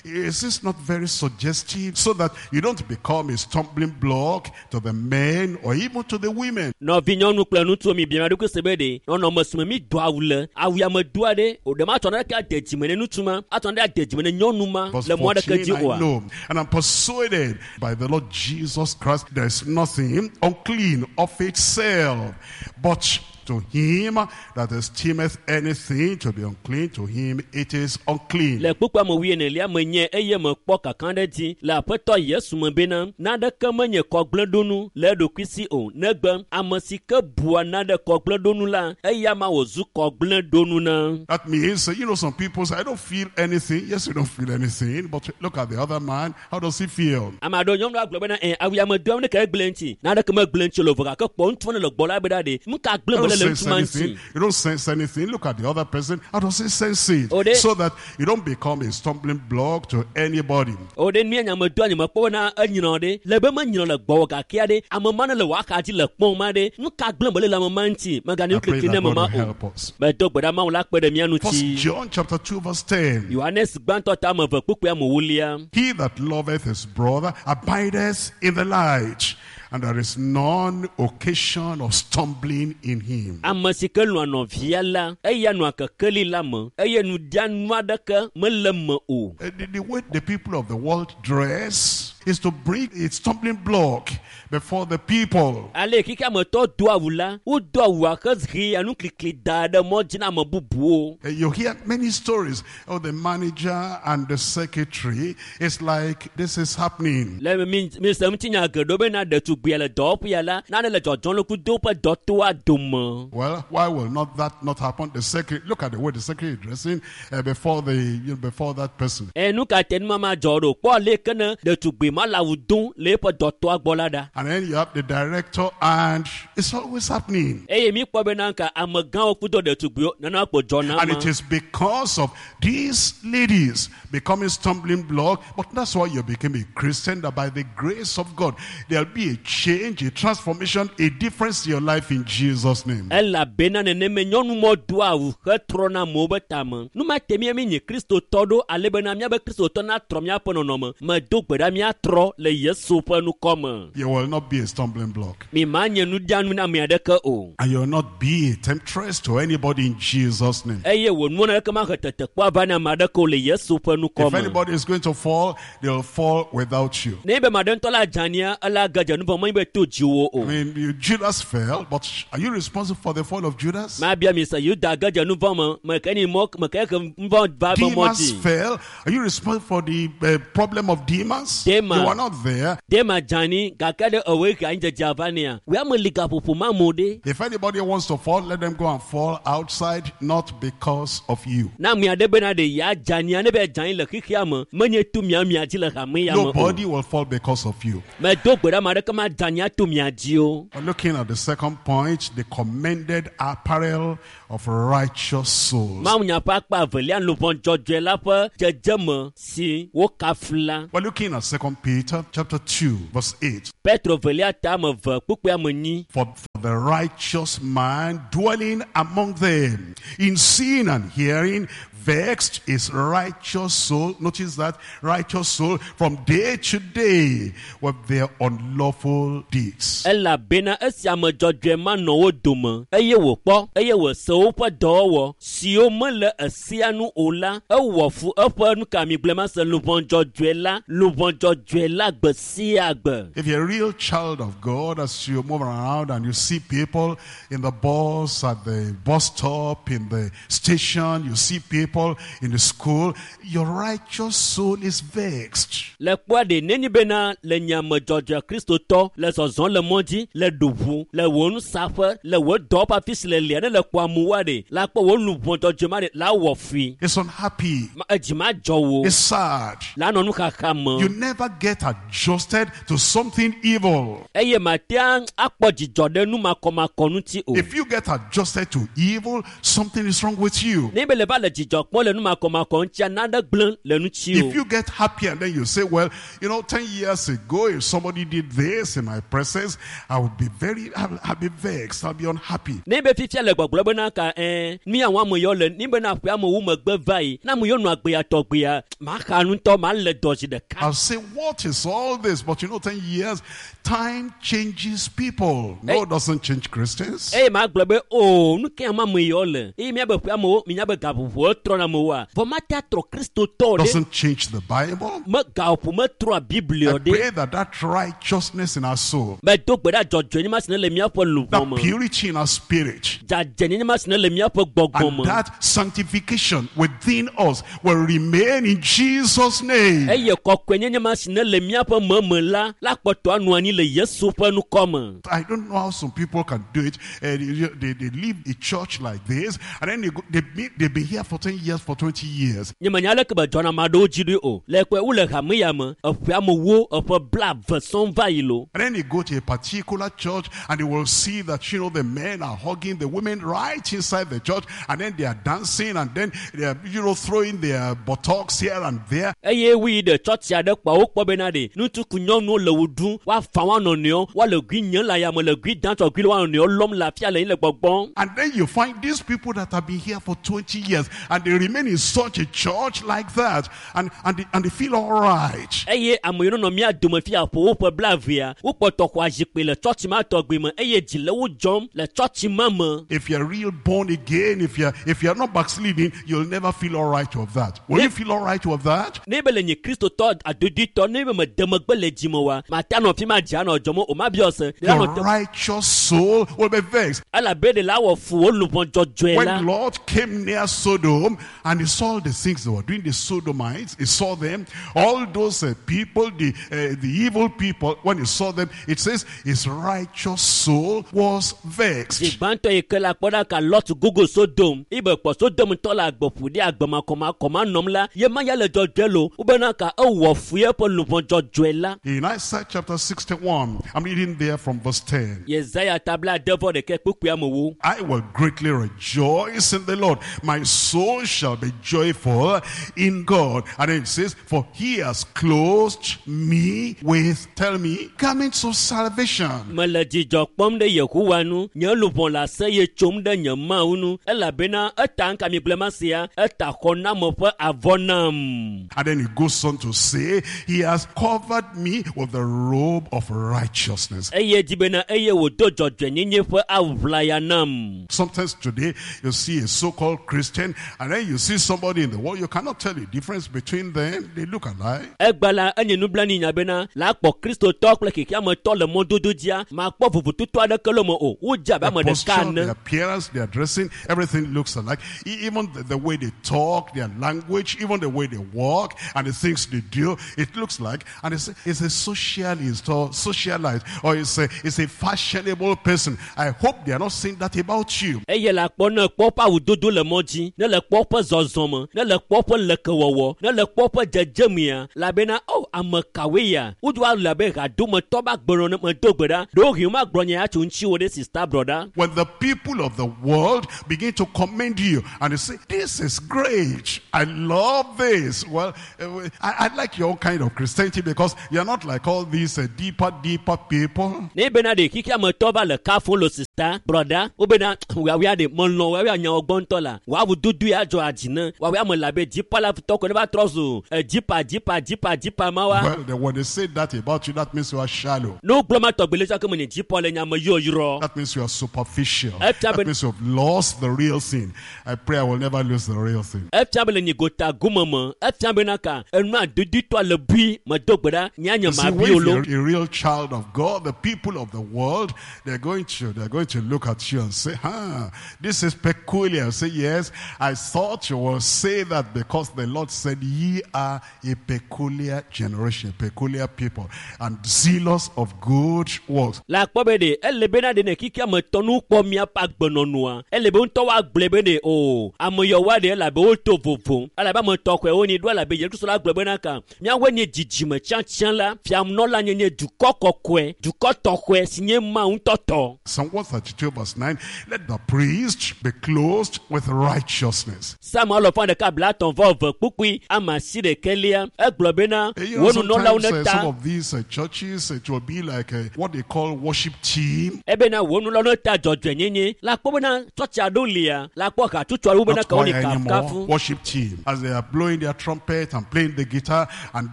is this not very suggestive so that you don't become a stumbling block to the men or even to the women? Nɔvi nyɔnu kple ŋutsuwo mi bia mia ɖokui se be ɖe nɔnɔme si me mi do awu le, awu ya me doa ɖe, o ɖe matsɔ naneke ade dzime ne ŋutsu ma, atsɔ naneke ade dzime ne nyɔnu ma Verse le mɔ aɖeke fourteen, dzi I oa? know, and I'm persuaded by the Lord Jesus Christ, there is nothing unclean of itself, but to him that esteemeth anything to be unclean, to him it is unclean. Le kpukpua me wuienelia me nye eye mekpɔ kaka ɖe dzi le aƒetɔ Yesu me bena naneke menye kɔgblẽɖonu le eɖokui si o negbe ame si ke bua nane kɔgblẽɖonu la eya ma wòzu kɔgblẽɖonu na. That means, uh, you know, some people say, I don't feel anything. Yes, you don't feel anything, but look at the other man. How does he feel? Ame aɖewo nyɔnu agblɔ bena ɛ awu ya me doam ne ke egblẽ ŋuti naneke megblẽ ŋuti o le vɔ gake kpɔ ŋutsu ne le gbɔ la bena ɖe nu ka gblẽ You mele don't le sense ŋutsu ma ŋuti. anything. You don't sense anything. Look at the other person. How does he sense it? Oh, they- So that you don't become a stumbling block to anybody. O ɖe nu ya nya me doa nye mekpɔ bena enyrɔ ɖe le be menyrɔ le gbɔwò gakea ɖe ame ma ne le wò axa dzi le kpɔm ma ɖe nu ka gblẽ mele le ame ma ŋuti megane I nu pray klikli ne that ame God ma will o. help us. Medo gbe ɖa Mawu la kpe ɖe mía First ŋuti. John chapter two verse ten. Yohanes gbãtɔ ta ame eve kpukpui ame ewolia. He that loveth his brother abideth in the light, and there is none occasion of stumbling in him. Ame si ke lɔ̃a nɔvia la, eya nɔa kekeli la me eye nuɖianu aɖeke mele me o. Uh, The, the way the people of the world dress is to bring a stumbling block before the people. Ale xexea me tɔ do awu la, wodo awua hehea nuklikli da ɖe mɔ dzi na ame bubuwo. Uh, You hear many stories of the manager and the secretary. It's like this is happening. Le mi mi se ŋutinya geɖewo bena ɖetugbia le dɔwɔƒea la, nane le dzɔdzɔm le kudo woƒe dɔtoa dome. Well, why will not that not happen? The secretary, look at the way the secretary is dressing uh, before the you know, before that person. Ɛ nu ka te numama dzɔ ɖo? Kpɔ ale ke ne ɖetugbui ɖetugbi ma le awu dom le eƒe dɔtɔa gbɔ la ɖa. And then you have the director, and it's always happening. Eye mi kpɔ bena ka amegãwo kudo ɖetugbiwo nana kpo dzɔna And ma. it is because of these ladies becoming stumbling block. But that's why you became a Christian, that by the grace of God, there'll be a change, a transformation, a difference in your life in Jesus' name. Elabena neneme nyɔnumɔ doa awu hetrɔna amewo be tame. Nu ma te mía mi nye kristotɔ ɖo ale bena míabe kristotɔ natrɔ míaƒe nɔnɔme. Medo gbe ɖa míatrɔ le Yesu ƒe ŋkɔ me. You will not be a stumbling block. Mi ma nye nuɖianu na ame aɖeke o. And you will not be a temptress to anybody in Jesus' name. Eye wò nuwɔna ɖeke mahe tetekpɔ ava na ame aɖeke o le Yesu ƒe ŋkɔ If me. anybody is going to fall, they'll fall without you. Ne be ame aɖe ŋutɔ la dze anyia, ela ge dze nu vɔ̃ menye be to dziwò o. I mean, you- Judas fell, but are you responsible for the fall of Judas? Mabia mi se Yuda ge dze nu vɔ̃ me, meke ni mɔ meke he nu vɔ̃ va be mɔ Demas dzi. fell. Are you responsible for the uh, problem of Demas? Demas. You are not there. Dema dze anyi gake ɖe ewoe he anyidzedze va nea. Wòe ame li gaƒoƒo ma amewo ɖe. If anybody wants to fall, let them go and fall outside, not because of you. Na ame aɖe bena ɖe ya dze anyia ne be dze anyi le xexea me, menye to mia mia dzi le hame ya me o. Nobody will fall because of you. Medo gbe ɖe ame aɖeke ma dze anyia to mia dzi o. We're looking at the second point, the commended apparel of righteous souls. Mawunya ƒe akpa evelia luʋɔ dzɔdzɔe la ƒe dzedzeme si wokafu la. We're looking at Second Peter chapter two, verse eight. Petro velia ta ame eve kpukpui ame enyi. For, for the righteous man dwelling among them, in seeing and hearing, vexed his righteous soul. Notice that righteous soul from day to day with their unlawful deeds. Elabena esi ame dzɔdzɔe ma nɔ wo dome eye wòkpɔ eye wòse woƒe dɔwɔwɔ siwo mele esia nu o la, ewɔ fu eƒe nukamigblẽmase luʋɔ dzɔdzɔe la, luʋɔ dzɔdzɔe la gbe sia gbe. If you're a real child of God, as you move around and you see people in the bus, at the bus stop, in the station, you see people in the school, your righteous soul is vexed. Le kpɔa ɖe neni bena le nye ame dzɔdzɔe kristotɔ le zɔzɔm le mɔ dzi, le ɖuʋu, le wò nusaƒe, le wò dɔwɔƒe afi si le lia ne le kpɔ amewoa ɖe, la kpɔ wò luʋɔ dzɔdzɔe ma ɖe la wɔ fui. It's unhappy. Ma- Edzi ma dzɔ wò. It's sad. La nɔ nuxaxa me. You never get adjusted to something evil. Eye matea akpɔ dzidzɔ ɖe nu makɔmakɔ ŋuti o. If you get adjusted to evil, something is wrong with you. Ne be le va le dzidzɔ kpɔm le nu makɔmakɔ ŋutia, nane gblẽ le ŋuti If o. you get happy and then you say, well, you know, ten years ago, if somebody did this in my presence, I would be very, I'll, I'll be vexed, I'll be unhappy. Ne be fifia le gbɔgblɔ bena ka ɛɛ nu ya wɔm ame yawo le, ne bena ƒe amewo megbe va yi, ne ame yawo nɔ agbea tɔgbea, maxa ŋutɔ, male dɔ zi ɖeka. I'll say, what is all this? But you know, ten years, time changes people. No, Hey. it doesn't change Christians. Eye magblɔ be o nu ke ame ame yawo le eye míabe ƒe amewo minya be gaƒoƒowo trɔna amewoa vɔ mate atrɔ kristotɔ ɖe Doesn't change the Bible. me gaƒoƒo metrɔa biblia I ɖe pray that that righteousness in our soul, medo gbe ɖa dzɔdzɔenye ma si ne le míaƒe luʋɔ that me purity in our spirit, dzadzɛnyenye ma si ne le míaƒe gbɔgbɔ and me that sanctification within us will remain in Jesus' name. eye kɔkɔenyenye ma si ne le míaƒe meme la la kpɔtɔ anɔ anyi le Yesu ƒe ŋkɔ me. I don't know how some people can do it. Uh, they, they, they leave a church like this, and then they go, they be, they've been here for ten years, for twenty years. Nye menya aleke be dzɔna ame aɖewo dzi ɖoe o. Le kpɔe wole hame ya me, eƒe amewo eƒe blaeve sɔŋ va yi lo. And then they go to a particular church and they will see that, you know, the men are hugging the women right inside the church, and then they are dancing, and then they are, you know, throwing their buttocks here and there. Eye woyi ɖe tsɔtsi aɖe kpɔa wokpɔ bena ɖe ŋutsu ku nyɔnuwo le wo ɖum, woafa woa nɔnɔewo, woale gui nye le ayame le gui dam tsɔ gui le woa nɔnɔewo lɔm le afia le anyi le gbɔgbɔm. And then you find these people that have been here for twenty years and they remain in such a church like that, and, and, they, and they feel all right. Eye ame yiwo nɔ mía dome fia ƒo woƒe blaevea, wokpɔtɔ xɔa zikpui le tsɔtsi ma tɔgbi me eye dzi le wo dzɔm le tsɔtsi ma me. If you're real born again, if you're, if you're not backsliding, you'll never feel all right with that. Will you feel all right with that? Ne be le nye kristotɔ adodoetɔ, ne be mede megbe le dzime oa, mate anɔ fi ma dzi anɔ dzɔm o, mabiɔ se. Ɖe Your anɔ te- righteous soul will be vexed. Elabe ɖe la wɔ fu wo luʋɔ dzɔdzɔe la. When Lot came near Sodom and he saw the things they were doing, the Sodomites, he saw them, all those uh, people, the, uh, the evil people, when he saw them, it says his righteous soul was vexed. Zi gbãtɔ yi ke Ke la kpɔ ɖa ka Lot gogo Sodom ibe kpɔ Sodom tɔ le agbe ƒo ɖi agbe makɔmakɔma nɔm la ye ma ya le dzɔdzɔe lo wobena ka ewɔ fu eƒe luʋɔ dzɔdzɔe la. In Isaiah chapter sixty-one, I'm reading there from verse ten. Yesaya ta bla ade vɔ ɖekɛ kpukpui amewo. I will greatly rejoice in the Lord. My soul shall be joyful in God. And it says, for he has clothed me with, tell me, garments of salvation. Mele dzidzɔ kpɔm ɖe Yehowa nu, nye luʋɔ le aseye tsom ɖe nye Mawu nu, elabena eta ŋka mi gblẽ ma sia, eta xɔname ƒe avɔ nam. And then he goes on to say, he has covered me with the robe of righteousness. Eye dzi bena eye wòdo dzɔdzɔenyenye ƒe awu ʋlaya nam. Sometimes today, you see a so-called Christian, and then you see somebody in the world, you cannot tell the difference between them. They look alike. Egba la enye nublanui nya bena la kpɔ Kristotɔ kple xexeametɔ le mɔdodo dzia, makpɔ vovototo aɖeke le me o. Wodze abe Their ame ɖeka posture, ene. their appearance, their dressing, everything looks alike. E-, Even the, the way they talk, their language, even the way they walk, and the things they do, it looks like. And it's, it's a socialist or socialite, or it's a, it's a fashionable person. I hope they are not saying that about you. Eye le akpɔ ne kpɔ ƒe awudodo le mɔ dzi, ne le kpɔ ƒe zɔzɔme, ne le kpɔ ƒe lekewɔwɔ, ne le kpɔ ƒe dzedzemea, elabena o ame kawoe ya? Wodo le abe hadometɔ be agbenɔnɔ me do gbe ɖa. Ɖewohĩ womagblɔ nya ya tso ŋutiwò ɖe sista brɔda. When the people of the world begin to commend you and they say, this is great, I love this. Well, I, I like your kind of Christianity because you're not like all these uh, deeper, deeper people. Ne bena ɖe xexeametɔ va le kafo lo sista brɔda, wobena woawoa ɖe melɔ̃ woawoa nyawo gbɔ ŋutɔ la, woawu dodo ya dzɔ adzi ne woawoa me le abe dzipa la tɔ ko ne va trɔ zu dzipa dzipa dzipa dzipa ma wa. Well, then when they say that about you, that means you are shallow. Ne wogblɔ ma tɔgbi le tsɔ ke me nye dzipa le nya me yɔyrɔ. That means you are superficial. Efia That be- means you have lost the real thing. I pray I will never lose the real thing. Efia be le nyi gota gome me, efia bena ka enua doditɔ le bui me do gbe ɖa nya nye You see, ma when bi o lo. you're a real child of God, the people of the world, they're going to, they're going to look at you and say, huh, this is peculiar. Say, yes, I thought you will say that because the Lord said, ye are a peculiar generation, peculiar people, and zealous of good works. Le akpɔ be ɖe ele bena ɖe ne xexeame tɔ nu kpɔ miaƒe agbenɔnɔa, ele be ŋutɔ woagblɔe be ɖe o ame yawoa ɖe elabe woto vovo, elabe ame tɔxɔe wonyi ɖo elabe Yesu Kristo la gblɔ bena ka miawoe nye dzidzime tsiãtsiã la, fianɔla nyenye dukɔ kɔkɔe, dukɔ tɔxɔe si nye Mawu ŋutɔ tɔ. Psalm one thirty-two verse nine, let the priest be clothed with righteousness. Psalm alɔfa ɖeka blaetɔ̃ vɔ eve kpukpui ame asi ɖekɛlia egblɔ bena Eh, You know, wo nunɔlawo sometimes uh, ne some ta of these uh, churches, it will be like uh, what they call worship team. ebena wo nunɔlawo ne ta dzɔdzɔenyenye la kpɔ bena tsɔtsi aɖewo lia la kpɔ hatsotso aɖewo bena Not ka wo ni choir anymore, kafukafu. worship team. As they are blowing their trumpet and playing the guitar, and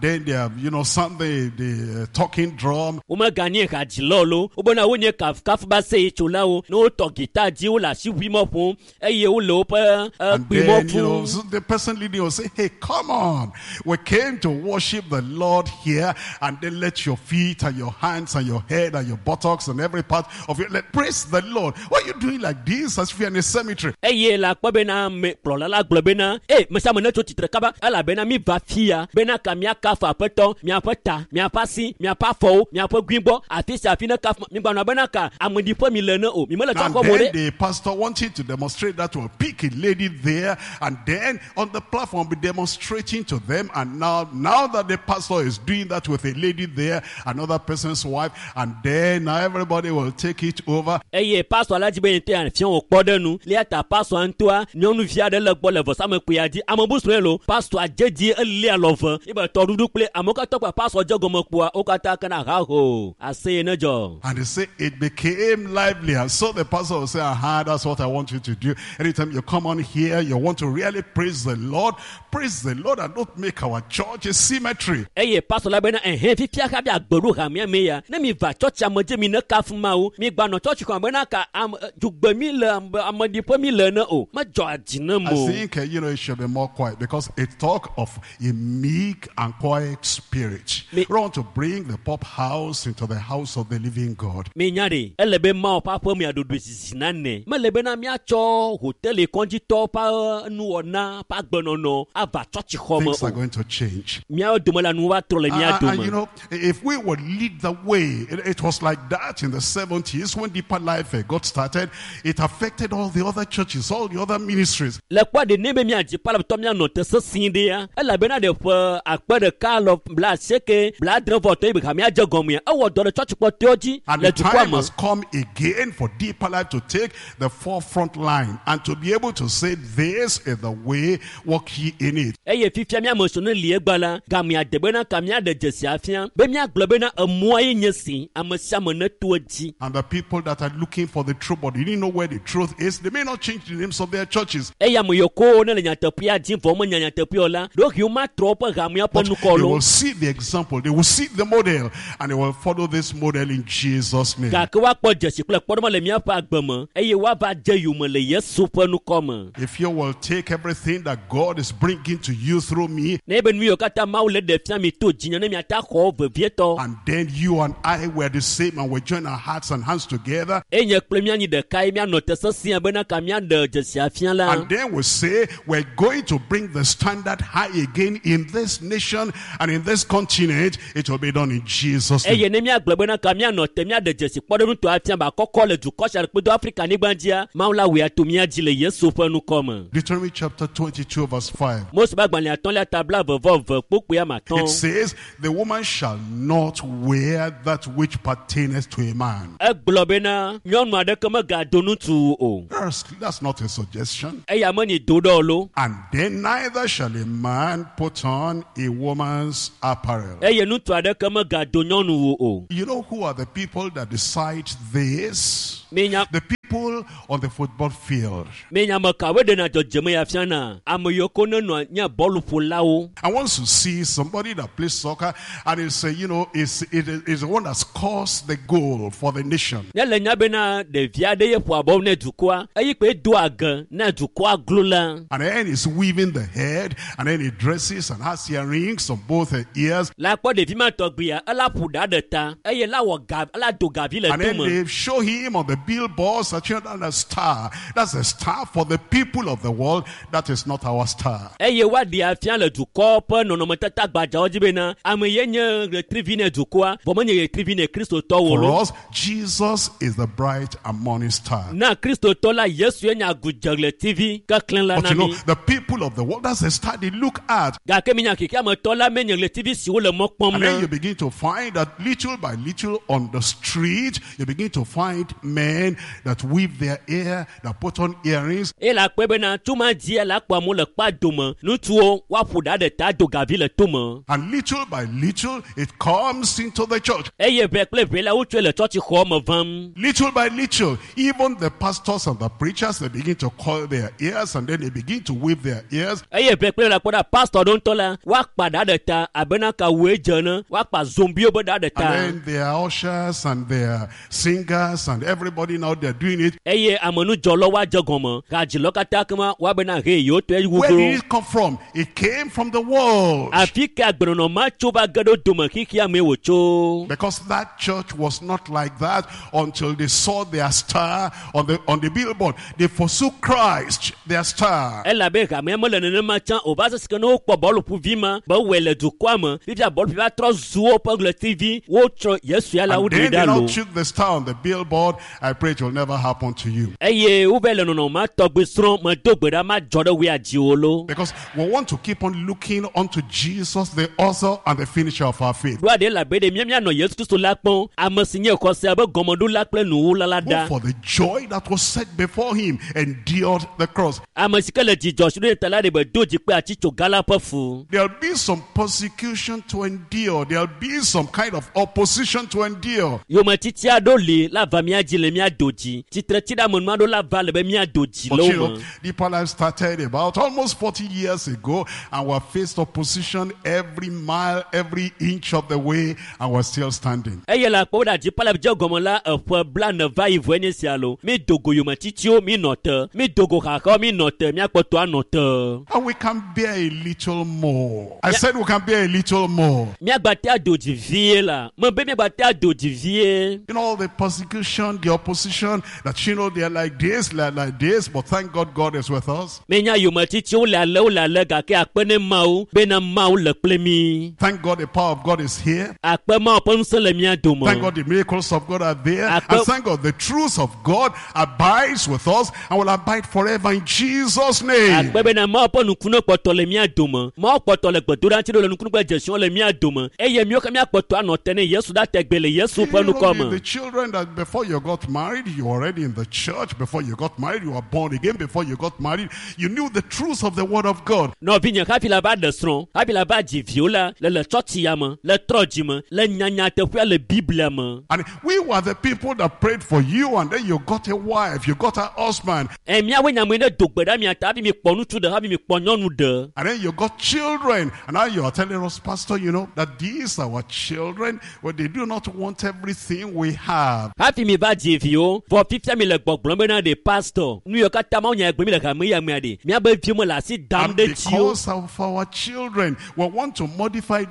then they are, you know, sounding the, the uh, talking drum. womeganye hadzilawo lo wobena wonye kafukafu be aseyetsolawo ne wotɔ gita dzi wole asiʋuimɔ ƒom eye wole woƒe And kpuimɔ then, you know, fum so the person leading will say, hey, come on. We came to worship the Lord here. And then let your feet and your hands and your head and your buttocks and every part of you, let praise the Lord. Why are you doing like this as if you're in a cemetery? eye le akpɔ bena ame kplɔla la gblɔ bena e me sia ame netso tsitre kaba elabena mi va fia bena ka miakafu aƒetɔ miaƒe ta miaƒe asi miaƒe afɔwo miaƒe guigbɔ afi sia afi ne kafu migbanɔ bena ka ameɖiƒe mi le ne o mi mele And tsɔkɔ mo then ɖe the pastor wanted to demonstrate that will pick a lady there and then on the platform be demonstrating to them. And now, now that the pastor is doing that with a lady there, another person's wife, and then now everybody will take it over. Eye pastor la dzi be yete afia wò kpɔ ɖe nu lia ta pastor ŋutɔa nyɔnuvi aɖe le gbɔ le vɔsamekpuia dzi ame bu srɔ̃e lo pastor dze dzi elia lɔve ebe tɔɖuɖu kple amewo katã kpa pastor dze gɔme kpoa wo katã kena haho aseye ne dzɔ. And they say it became lively. And so the pastor will say, aha, that's what I want you to do. Anytime you come on here, you want to really praise the Lord. Praise the Lord and don't make our church a cemetery. Eye pastor la bena ɛhɛn fifia hafi agbe ɖo hamea me ya ne mi va tsɔtsi ame dzi mi ne kafu mawu mi gbanɔ tsɔtsi xɔ bena ka ame dugbe mi le ame ameɖiƒe mi le ne o medzɔ adzi ne I mo. think, uh, you know, it should be more quiet because it talk of a meek and quiet spirit. Me- We want to bring the pop house into the house of the living God. Mi nya ɖe ele be Mawu ƒe aƒe mea ɖoɖoe zizi nane mele bena miatsɔ hoteli kɔdzitɔwo ƒe nuwɔna ƒe agbenɔnɔ ava tsɔtsi xɔ me Things are o going to change. míawo dome la nu va trɔ le mía And, and, you dome. know, if we would lead the way, it, it was like that in the seventies when Deeper Life uh, got started. started, it affected all the other churches, all the other ministries. Le kpɔ ɖe ne be míadzi palaptɔ míanɔ te sesĩ ɖea elabena ɖe ƒe akpe ɖeka lɔ bla asieke bla adre vɔ etɔ̃ yi be hamea dze gɔmea ewɔ dɔ ɖe tsɔtsikpɔtɔewo dzi And le the dukɔa time me. has come again for Deeper Life to take the forefront line and to be able to say, this is the way, walk ye in it. Eye fifia míame sɔ ne li egba la gamea de bena ka míaɖe dzesi afia be míagblɔ bena emɔa ye nye si ame sia ame neto edzi. And the people that are looking for the truth but they didn't know where the truth is, they may not change the names of their churches. Eye ame yiwo ko ne le nyateƒea dim vɔ menya nyateƒea o la ɖewohĩ womatrɔ woƒe hamea ƒe But nukɔ they lo will see the example, they will see the model, and they will follow this model in Jesus' name. Gake woakpɔ dzesi kple kpɔɖeŋu le míaƒe agbe me eye woava dze yome le Yesu ƒe nukɔ me. If you will take everything that God is bringing to you through me, Ne be nu yiwo katã Mawu le ɖe fia mi to dzinye ne miata xɔ vevietɔ and then you and I were the same and we join our hearts and hands together, eye nye kple míanyi ɖeka ye míanɔ te sesĩa bena ka míaɖe dzesi afia la and then we say we're going to bring the standard high again in this nation and in this continent, it will be done in Jesus' name. Eye ne míagblɔ bena ka míanɔ te míaɖe dzesi kpɔɖeŋutɔ afia ba kɔkɔ le dukɔ sia kpedo Afrika nyigba dzia Mawu la wɔe ato mía dzi le Yesu ƒe nukɔ me. Deuteronomy chapter twenty-two verse five. Mose ƒe agbalẽ atɔ̃lia ta bla eve vɔ eve kpokpoe ame It atɔ̃. says, the woman shall not wear that which pertaineth to a man. Egblɔ bena nyɔnu aɖeke megado ŋutsu o. That's, that's not a suggestion. Eya menyi do ɖe o lo. And then neither shall a man put on a woman's apparel. Eye ŋutsu aɖeke megado nyɔnuwo o. You know who are the people that decide this? Minya The people on the football field. minya ame kawoe ɖena dzɔdzɔme ya fiana ame yiwo ko nenɔa nye bɔluƒolawo. And once you see somebody that plays soccer and it's, uh, you know, it's, it is the one that scores the goal for the nation. Ne le nya bena ɖevi aɖe ye ƒoa bɔlu ne dukɔa eyi kpe doa ge ne dukɔa glo la. And then he's weaving the head, and then he dresses and has earrings on both the ears. La kpɔ ɖevi ma tɔgbia ela ƒo ɖa ɖe ta eye la wɔ ga ela do gavi le And then tome. they show him on the billboards that you know, that's a star. That's a star for the people of the world. That is not our star. Eye woaɖe afia le dukɔ ƒe nɔnɔmetata gbadzawo dzi bena ame ye nye ɣetrivi ne dukɔa vɔ menye ɣetrivi ne kristotɔwo For lo. us, Jesus is the bright and morning star. Na kristotɔ la Yesu ye nye agudze ɣletivi keklẽ la But na you know, mi. the people of the world, that's the star they look at. Gake minya xexeametɔ la menye ɣletivi siwo le mɔ kpɔm And then na. you begin to find that little by little on the street, you begin to find men that weave their hair, that put on earrings, Eye le akpɔe bena tuma dzia le akpɔ amewo le kpa dome ŋutsuwo woaƒo ɖa ɖe ta do gavi le tome. and little by little it comes into the church. Eye ʋɛ kple ʋɛ la wotsɔe le tsɔtsixɔ me vam. Little by little, even the pastors and the preachers, they begin to coil their ears and then they begin to wave their ears. Eye ʋɛ kple la kpɔ ɖa pastor ɖewo ŋutɔ la woakpa ɖa ɖe ta abena kawue dze ne woakpa zombiwo be ɖa ɖe ta. And then their ushers and their singers and everybody now they're doing it. Eye amenudzɔlɔ woadze gɔme hadzilɔ katã kema woabena he yewo tɔe Where wuglo. did it come from? It came from the world. Afi ka agbenɔnɔ ma tso va ge ɖo dome xexea mee wòtso. Because that church was not like that until they saw their star on the, on the billboard. They forsook Christ, their star. Elabe hamea mele nenema tsã o va se si ke ne wokpɔ bɔluƒuvi ma be wɔe le dukɔa me fifia bɔluƒuvi va trɔ zu woƒe ɣletivi wotsɔ Yesu ya la And woɖe then they ɖa now lo. took the star on the billboard. I pray it will never happen to you. Eye wova le nɔnɔme ma tɔgbi srɔ̃ medo gbe ɖa madzɔ ɖe woa dziwò lo. Because we want to keep on looking unto Jesus, the author and the finisher of our faith. Ɖoa ɖe elabe ɖe mía míanɔ Yesu Kristo la kpɔm ame si nye xɔsea be gɔmeɖola kple nuwula la Who ɖa. for the joy that was set before him endured the cross. Ame si ke le dzidzɔ si ɖo ta la ɖe be do dzi kple atitsoga la ƒe fu. There'll be some persecution to endure. There'll be some kind of opposition to endure. Yometiti aɖewo li la va mía dzi le mía do dzi. Tsitretsiɖeamenu aɖewo la va le be mía do dzi But le you wo know, me. Deeper Life started about almost forty years ago, and we faced opposition every mile, every inch of the way, and we're still standing. Eye le akpɔ ɖe dziƒo le dze gɔme la eƒe blaene va yi vɔe nye sia lo. Mi do go yometitiwo mi nɔ te. Mi do go xaxawo mi nɔ te. Míakpɔtɔ anɔ te. And we can bear a little more. I said we can bear a little more. Míagbate ado dzi vie la. Mebe míagbate ado dzi vie. You know, all the persecution, the opposition that, you know, they're like this, they're like this, but thank God God is with us. Menya yometitiwo le ale wole ale gake akpe ne Mawu bena Mawu le kple mi. Thank God the power of God is here. Akpe Mawu ƒe ŋusẽ le mía dome. Thank God the miracles of God are there. Akpe- And thank God the truth of God abides with us and will abide forever in Jesus' name. Akpe bena Mawu ƒe nukunu kpɔtɔ le mía dome. Mawu kpɔtɔ le gbedoɖa ŋuti ɖo le nukunu kple dzesiwo le mía dome eye míawo ke míakpɔtɔ anɔ te ne Yesu ɖa tegbe le Yesu You ƒe know, nukɔ the, me. the children that before you got married, you were already in the church. Before you got married, you were born again. Before you got married, you knew the truth of the word of God. Nɔvinye hafi la va ɖe srɔ̃, hafi la va dzi viwo la, le le tsɔtsi ya me, le trɔ dzi me, le nyanyateƒea le Biblia me. And we were the people that prayed for you, and then you got a wife, you got a husband, Ɛ míawoe nye ame yi ne do gbe ɖa mia ta hafi mi kpɔ ŋutsu ɖe hafi mi kpɔ nyɔnu ɖe. and then you got children. And now you are telling us, Pastor, you know, that these our children, well, they do not want everything we have. Hafi mi va dzi viwo, vɔ fifia mi le gbɔgblɔm bena ɖe pastor, nu yiwo katã Mawu nya gbe mi le hame ya mea ɖe, míabe viwo me le asi dam And ɖe dziwo. because of our children, we want to modify,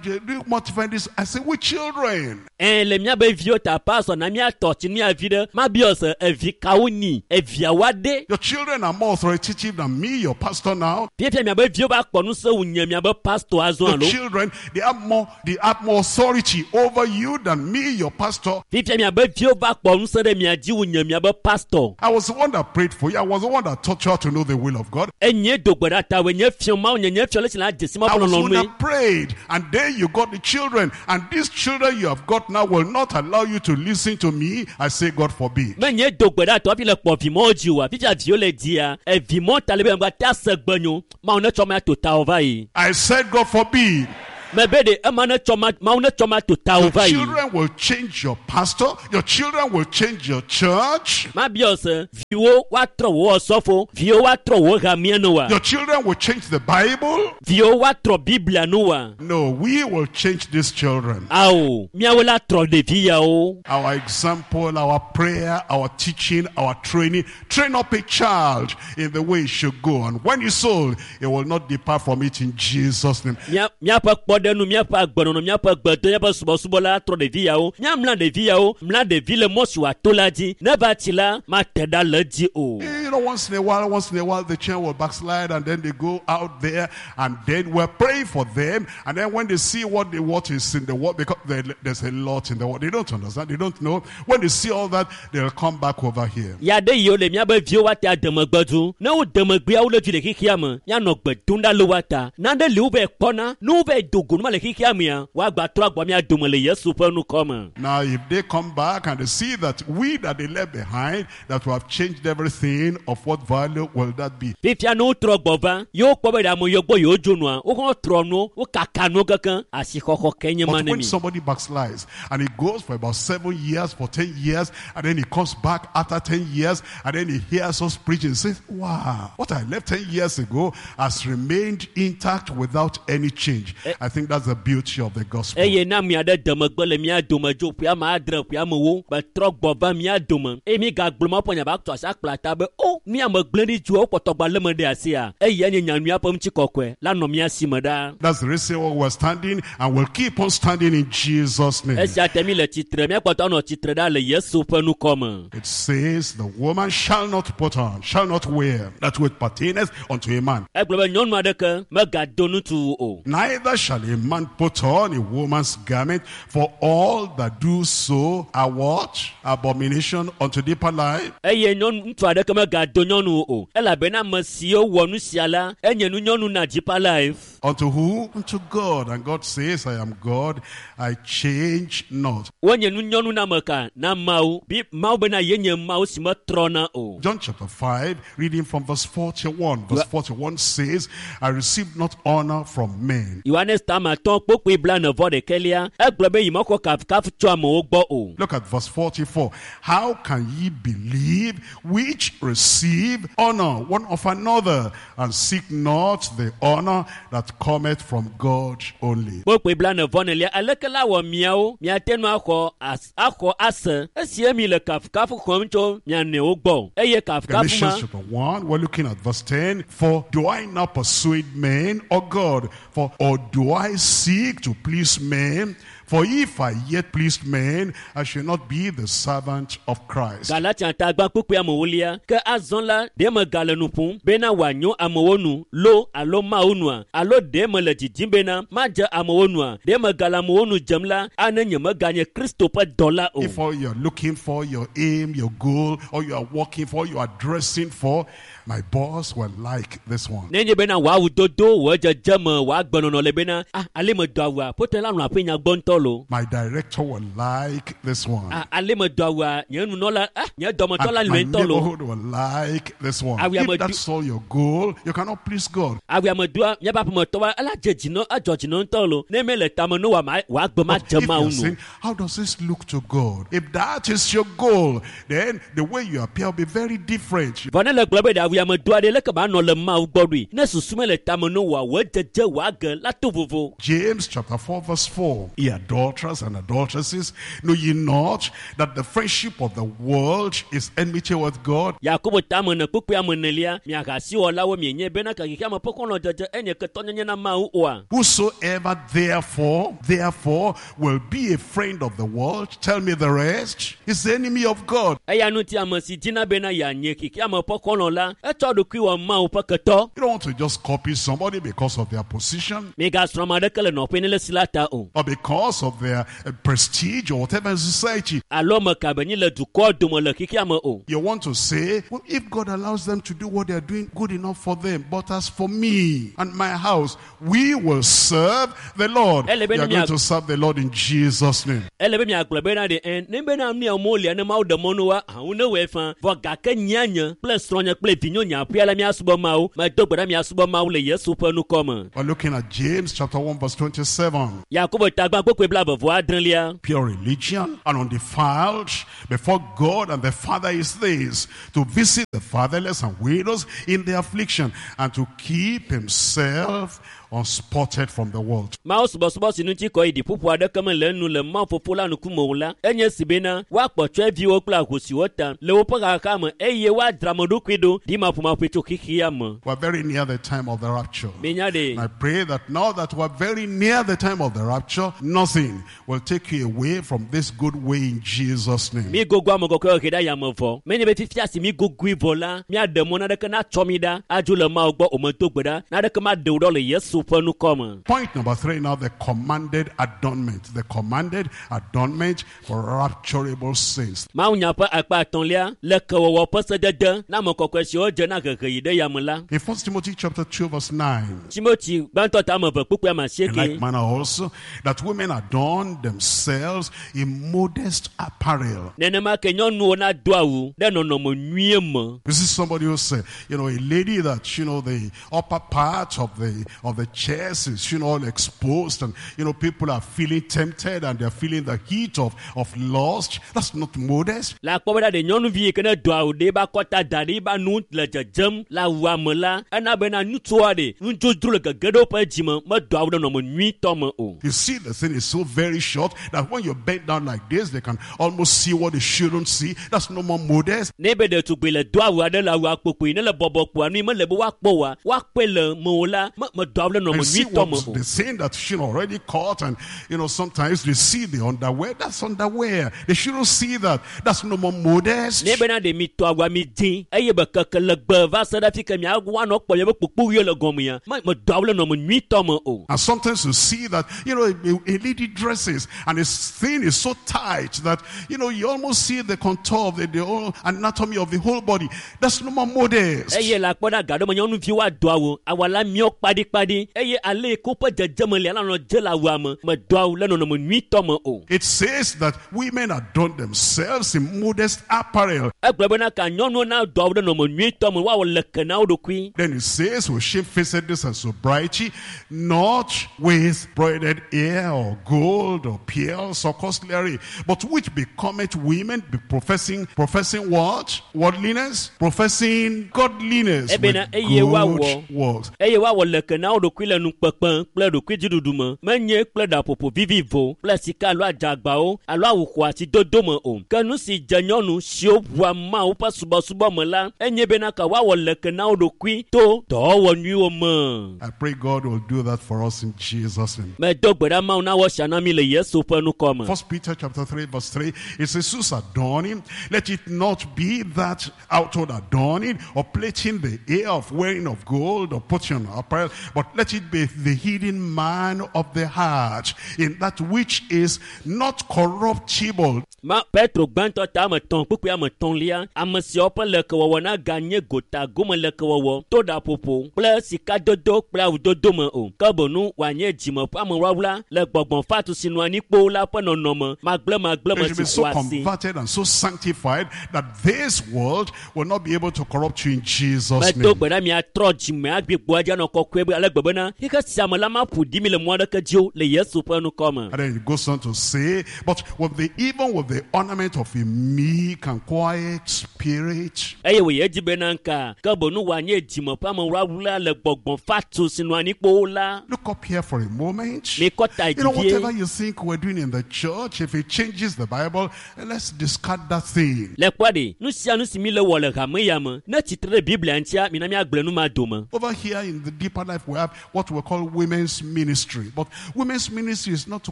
modify this. I say, we children. Ɛ le míabe viwo ta pastor na míatɔ tsi mía vi ɖe, mabiɔ se evi kawo nyi, eviawoa ɖe. Your children are more authoritative than me, your pastor now. Fifia miabe viwo va kpɔ ŋusẽ wu nye miabe pastor azɔ Your alo. children, they have more, they have more authority over you than me, your pastor. Fifia miabe viwo va kpɔ ŋusẽ ɖe mia dzi wu nye miabe pastor. I was the one that prayed for you. I was the one that taught you how to know the will of God. Enye do gbe ɖa tawòe, nye fiɔ Mawu nye nye fiɔ le si la dze si Mawu I ƒe was the one lɔlɔ̃nue. that prayed. And then you got the children. And these children you have got now will not allow you to listen to me. I say, God forbid. Menye do gbe ɖa tɔ hafi le kpɔ vimɔwo dzi oa, fifia viwo le dzia, evimɔ ta le be megate ase gbe nyo, Mawu ne tsɔ ma to tawò va yi. I said, God forbid. Mebe ɖe ema ne tsɔ ma, Mawu ne tsɔ ma to tawò Your va yi. children will change your pastor. Your children will change your church. Mabiɔ se, viwo woatrɔ wò ɔsɔfo, viwo woatrɔ wò hamea nu wa, Your children will change the Bible. viwo woatrɔ Biblia nu wa. No, we will change these children. Ao, míawo la trɔ ɖevi yawo. Our example, our prayer, our teaching, our training. Train up a child in the way he should go. And when he's old, he will not depart from it in Jesus' name. Mía- míaƒe kpɔɖenu, míaƒe agbenɔnɔ, míaƒe gbedo, míaƒe subɔsubɔ la trɔ ɖevi yawo. Míamla ɖevi yawo, mla ɖevi le mɔ si wòato la dzi. Ne va tsi la, mate ɖa le edzi o. You know, once in a while, once in a while, the children will backslide and then they go out there and then we're praying for them. And then when they see what they, what is in the world, because there, there's a lot in the world, they don't understand, they don't know. When they see all that, they'll come back over here. Ya ɖe yiwo le míabe viwo woate ademegbedzu. Ne wo demegbea wo le dzi le xexea me, míanɔ gbe dom ɖa le woa ta. Nane li wovɛ kpɔna, ne wovɛ do go numa le xexea mea, woagba trɔ agbɔ mía dome le Yesu ƒe nukɔ me. Now, if they come back and they see that we that they left behind, that we have changed everything, of what value will that be? Fifia ne wotrɔ gbɔ va, ye wokpɔ be ɖe ame yiwo gbɔ yewo dzo nua, wohã trɔ nuwo, wokaka nuwo kekeŋ, asixɔxɔ ke nye ma But ne when mi. somebody backslides and he goes for about seven years, for ten years, and then he comes back after ten years, and then he hears us preaching and says, wow, what I left ten years ago has remained intact without any change. I think that's the beauty of the gospel. Eye na ame aɖe de megbe le mía dome dzo ƒe ame adre ƒe amewo betrɔ gbɔ va mía dome eye mi gagblɔ ma ƒe nya ba tɔ asi akpla ta be o mi ame gblẽ ɖi dzoa wokpɔtɔ gba lé me ɖe asia eya nye nyanyuia ƒe ŋutikɔkɔe la nɔ mía si me ɖaa. That's the reason why we're standing and we'll keep on standing in Jesus' name. Esia te mi le tsitre míakpɔtɔ anɔ tsitre ɖa le Yesu ƒe nukɔ me. It says, the woman shall not put on, shall not wear that which pertaineth unto a man. Egblɔ be nyɔnu aɖeke megado ŋutsu o. Neither shall a man put on a woman's garment, for all that do so are what? Abomination unto deeper life. Eye nyɔnu ŋutsu aɖeke megado nyɔnu o elabena ame siwo wɔ nu sia la enye nu nyɔnu na Deeper Life. Unto who? Unto God. And God says, I am God, I change not. Wonye nu nyɔnu na ame ka na Mawu. Bi Mawu bena yenye Mawu si metrɔna o. John chapter five, reading from verse forty-one. Verse forty-one says, I received not honor from men. Yohanes tama atɔ̃ kpokpoe blaene vɔ ɖekɛlia egblɔ be yimexɔ kafukafu tso amewo gbɔ o. Look at verse forty-four. How can ye believe which receive honor one of another and seek not the honor that cometh from God only? Kpokpoe blaene vɔ nelia aleke la wɔ miawo miate ŋu axɔ as axɔ ase esie mi le kafukafu xɔm tso mia nɔewo gbɔ eye kafukafu ma Galatians chapter one, we're looking at verse ten. For do I now persuade men or God? For or do I seek to please men? For if I yet pleased men, I should not be the servant of Christ. Galatia ta gbã kpukpui amewolia ke azɔ la ɖe megale nu ƒom bena wòanyo amewo nu lo alo Mawu nua alo ɖe mele didim bena madze amewo nua ɖe megale amewo nu dzem la ane nye meganye Kristo ƒe dɔla o. If all you're looking for, your aim, your goal, or you are working for, you are dressing for, my boss will like this one. Nenye bena wò dodo wò dzedzeme wò agbenɔnɔ le bena ah ale medo awua ƒote la nɔ aƒe nya gbɔ ŋutɔ lo. My director will like this one. Ah ale medo awua nye nunɔla ah nye dɔmetɔ la And my lɔe ŋutɔ lo. neighborhood will like this one. Ah, we are If do- that's all your goal, you cannot please God. Awua medoa míaƒe aƒemetɔwoa ela dze dzinɔ edzɔ dzinɔ ŋutɔ lo ne mele tame no wòa wò agbe ma But dze if Mawu you're nu. saying, how does this look to God? If that is your goal, then the way you appear will be very different. Vɔ ne le gblɔ be ɖe awua medoa ɖe leke manɔ le Mawu gbɔ ɖoe ne susu mele tame no wòa wò dzedze wò age la to vovo. James chapter four verse four. Ye adulterers and adulteresses, know ye not that the friendship of the world is enmity with God? Yakobo tame ne kpukpui ame enelia miahasiwɔlawo mienye bena ke xexeame ƒe xɔlɔ̃dzedze enye ketɔnyenye na Mawu oa. Whosoever therefore, therefore will be a friend of the world, tell me the rest, is the enemy of God. Eya ŋuti ame si dina bena yeanye xexeame ƒe xɔlɔ̃ la etsɔ ɖokui wɔ Mawu ƒe ketɔ. You don't want to just copy somebody because of their position Migasrɔ̃ ame aɖeke le nɔƒe ne le si la ta o. or because of their uh, prestige or whatever in society. Alo ame ka be nyi le dukɔ dome le xexeame o. You want to say, well, if God allows them to do what they are doing, good enough for them. But as for me and my house, we will serve the Lord. Ele You be are ni going mia- to serve the Lord in Jesus' name. Ele be miagblɔ bena ɖe ɛ ne bena nu ya mo lia ne Mawu ɖe mɔ no wa hawo ne wɔe fã vɔ gake nyia nye kple srɔ̃nye kple vinyo nye aƒea la miasubɔ Mawu medo gbe ɖa miasubɔ Mawu le Yesu ƒe ŋkɔ me. We're looking at James chapter one verse twenty-seven. Yakobo tagba kpukpui blaeve vɔ adrelia. Pure religion and undefiled before God and the Father is this, to visit the fatherless and widows in their affliction and to keep himself unspotted from the world. Mawu subɔsubɔ si ŋuti kɔ yi ɖiƒoƒo aɖeke mele enu le Mawu fofo la ŋkume o la enye si bena woakpɔ tsɔeviwo kple ahosiwo ta le woƒe xaxa me eye woadzra ame ɖokui ɖo ɖimaƒomaƒoe tso xexea me. We're very near the time of the rapture. Minya ɖe And I pray that now that we're very near the time of the rapture, nothing will take you away from this good way in Jesus' name. mi gogo ame kɔkɔewo he ɖe ayame vɔ menye be fifia si mi gogoe vɔ la miaɖe mɔ naneke natsɔ mi ɖa adzo le Mawu gbɔ o medo gbe ɖa naneke maɖe wo ɖa le Yesu ƒe ŋkɔ me. Point number three now, the commanded adornment. The commanded adornment for rapturable saints. Mawunya ƒe akpa atɔ̃lia le kewɔwɔ ƒe sedede na ame kɔkɔe siwo dze na hehe yi ɖe yame la. In First Timothy chapter two verse nine, Timoti gbãtɔ ta ame eve kpukpui ame in asieke. like manner also, that women adorn themselves in modest apparel. Nenema ke nyɔnuwo nado awu ɖe nɔnɔme nyuie me. You see somebody who say, you know, a lady that, you know, the upper part of the of the chest is, you know, all exposed and, you know, people are feeling tempted and they're feeling the heat of, of lust. That's not modest. Le akpɔ bena ɖe nyɔnuvi yi ke ne do awu ɖe eba kɔta da ɖe eba nu le dzedzem le awua me la ena bena ŋutsua ɖe nudzodzro le gege ɖe woƒe dzime medo awu ɖe nɔnɔme nyuitɔ me o. You see, the thing is so very short that when you bend down like this, they can almost see what they shouldn't see. That's no more modest. Ne be ɖetugbui le do awu aɖe le awua kpokpoe ne le bɔbɔ kpoa nu yi mele be woakpɔ oa woakpɔe le mewò la me medo awu ɖe nɔnɔme And see nyuitɔ me what o. the thing that she already caught, and you know, sometimes they see the underwear. That's underwear. They shouldn't see that. That's no more modest. Ne bena ɖe mi tɔ awua mi dzi eye be keke legbe va se ɖe afi ke mia woanɔ kpɔ miabe kpokpoɣiwo le gɔmea me medo awu ɖe nɔnɔme nyuitɔ me o. And sometimes you see that, you know, a, a lady dresses and this thing is so tight that, you know, you almost see the contour of the, the whole anatomy of the whole body. That's no more modest. Eye le akpɔ ɖe aga ɖe me nyɔnuviwo ado awu awua la miɔ kpaɖikpaɖi eye ale yi ke woƒe dzedzeme lia la nɔ dze le awua me medo awu le nɔnɔme nyuitɔ me o. It says that women adorn themselves in modest apparel. Egblɔ bena ka nyɔnuwo nado awu ɖe nɔnɔme nyuitɔ me woawɔ leke na wo ɖokui. Then it says, with shamefacedness and sobriety, not with broidered hair or gold or pearls or costly array, but which becometh women, be professing, professing what? Worldliness? Professing godliness with Ebena, eye woawɔ. good works. Eye woawɔ leke na wo ɖokui ɖokui le nukpekpe kple ɖokuidziɖuɖu me menye kple ɖaƒoƒo vivivo kple sika alo adzagbawo alo awu xɔasi dodo me o ke nu si dze nyɔnu siwo ʋua mawu ƒe subɔsubɔ me la enye bena ka woawɔ leke na wo ɖokui to dɔwɔwɔ nyuiwo me I pray God will do that for us in Jesus' name. medo gbe ɖa mawu nawɔ sia na mi le yesu ƒe ŋkɔ me First Peter chapter three, verse three, it says, Whose adorning, let it not be that outward adorning or plaiting the hair of wearing of gold or putting on apparel, but let it be the hidden man of the heart, in that which is not corruptible. Ma petro gbãtɔ ta ame etɔ̃ kpukpui ame etɔ̃lia ame siawo ƒe lekewɔwɔ naganye gota gome lekewɔwɔ to ɖaƒoƒo kple sikadodo kple awudodo me o ke boŋu wòanye dzime ƒe amewlawla le gbɔgbɔ fatu si nɔ anyi kpoo la ƒe nɔnɔme magblẽmagblẽ me It should be si so xɔa asi converted and so sanctified that this world will not be able to corrupt you in Jesus' medo name. gbe ɖa miatrɔ dzime agbigbo adzi anɔ kɔkɔe be ale gbe bena xixe sia me la maƒo ɖi mi le mɔ aɖeke dzi o le yesu ƒe ŋkɔ me And then it goes on to say, but with the even with the ornament of a meek and quiet spirit, eye wòye edzi bena ŋka ke boŋu wòanye dzime ƒe amewlawla le gbɔgbɔ fatu si nɔ anyi kpoo la Look up here for a moment. mikɔ ta You know, dzi vie whatever you think we're doing in the church, if it changes the Bible, let's discard that thing. le kpɔ ɖe nu sia nu si mi le wɔ le hame ya me ne tsitre ɖe biblia ŋutia mina míagblẽ nu ma dome Over here in the deeper life, we have what we call women's ministry. But women's ministry is not to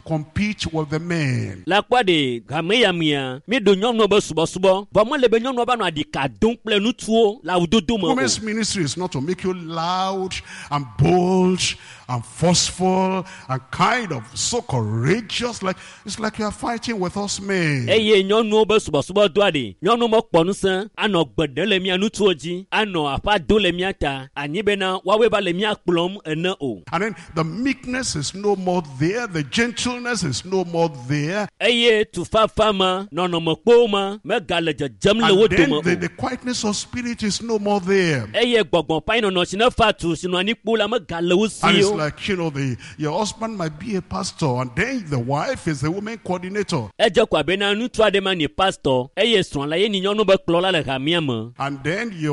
compete with the men. le kpɔ ɖe hame ya mea mi ɖo nyɔnuwo be subɔsubɔ vɔ mele be nyɔnuwo va nɔ aɖika dom kple ŋutsuwo le awudodo me o Women's ministry is not to make you loud and bold and forceful and kind of so courageous. Like it's like you are fighting with us men. eye nyɔnuwo be subɔsubɔdɔa ɖe nyɔnuwo mekpɔ ŋusẽ anɔ gbe ɖem le mia ŋutsuwo dzi anɔ aƒa do le mia ta anyi bena woawoe va le mia kplɔm ene o And then the meekness is no more there, the gentleness is no more there. eye tufafa ma nɔnɔme kpowo ma megale dzedzem le wo And then dome the, o the quietness of spirit is no more there. eye gbɔgbɔ ƒe anyinɔnɔ si ne fa tu si nɔ anyi kpo la megale wo And si it's o like, you know, the, your husband might be a pastor, and then the wife is the woman coordinator. edze ko abe na ŋutsu aɖe ma nye pastor eye srɔ̃ la ye nye nyɔnu be kplɔla le hamea me And then your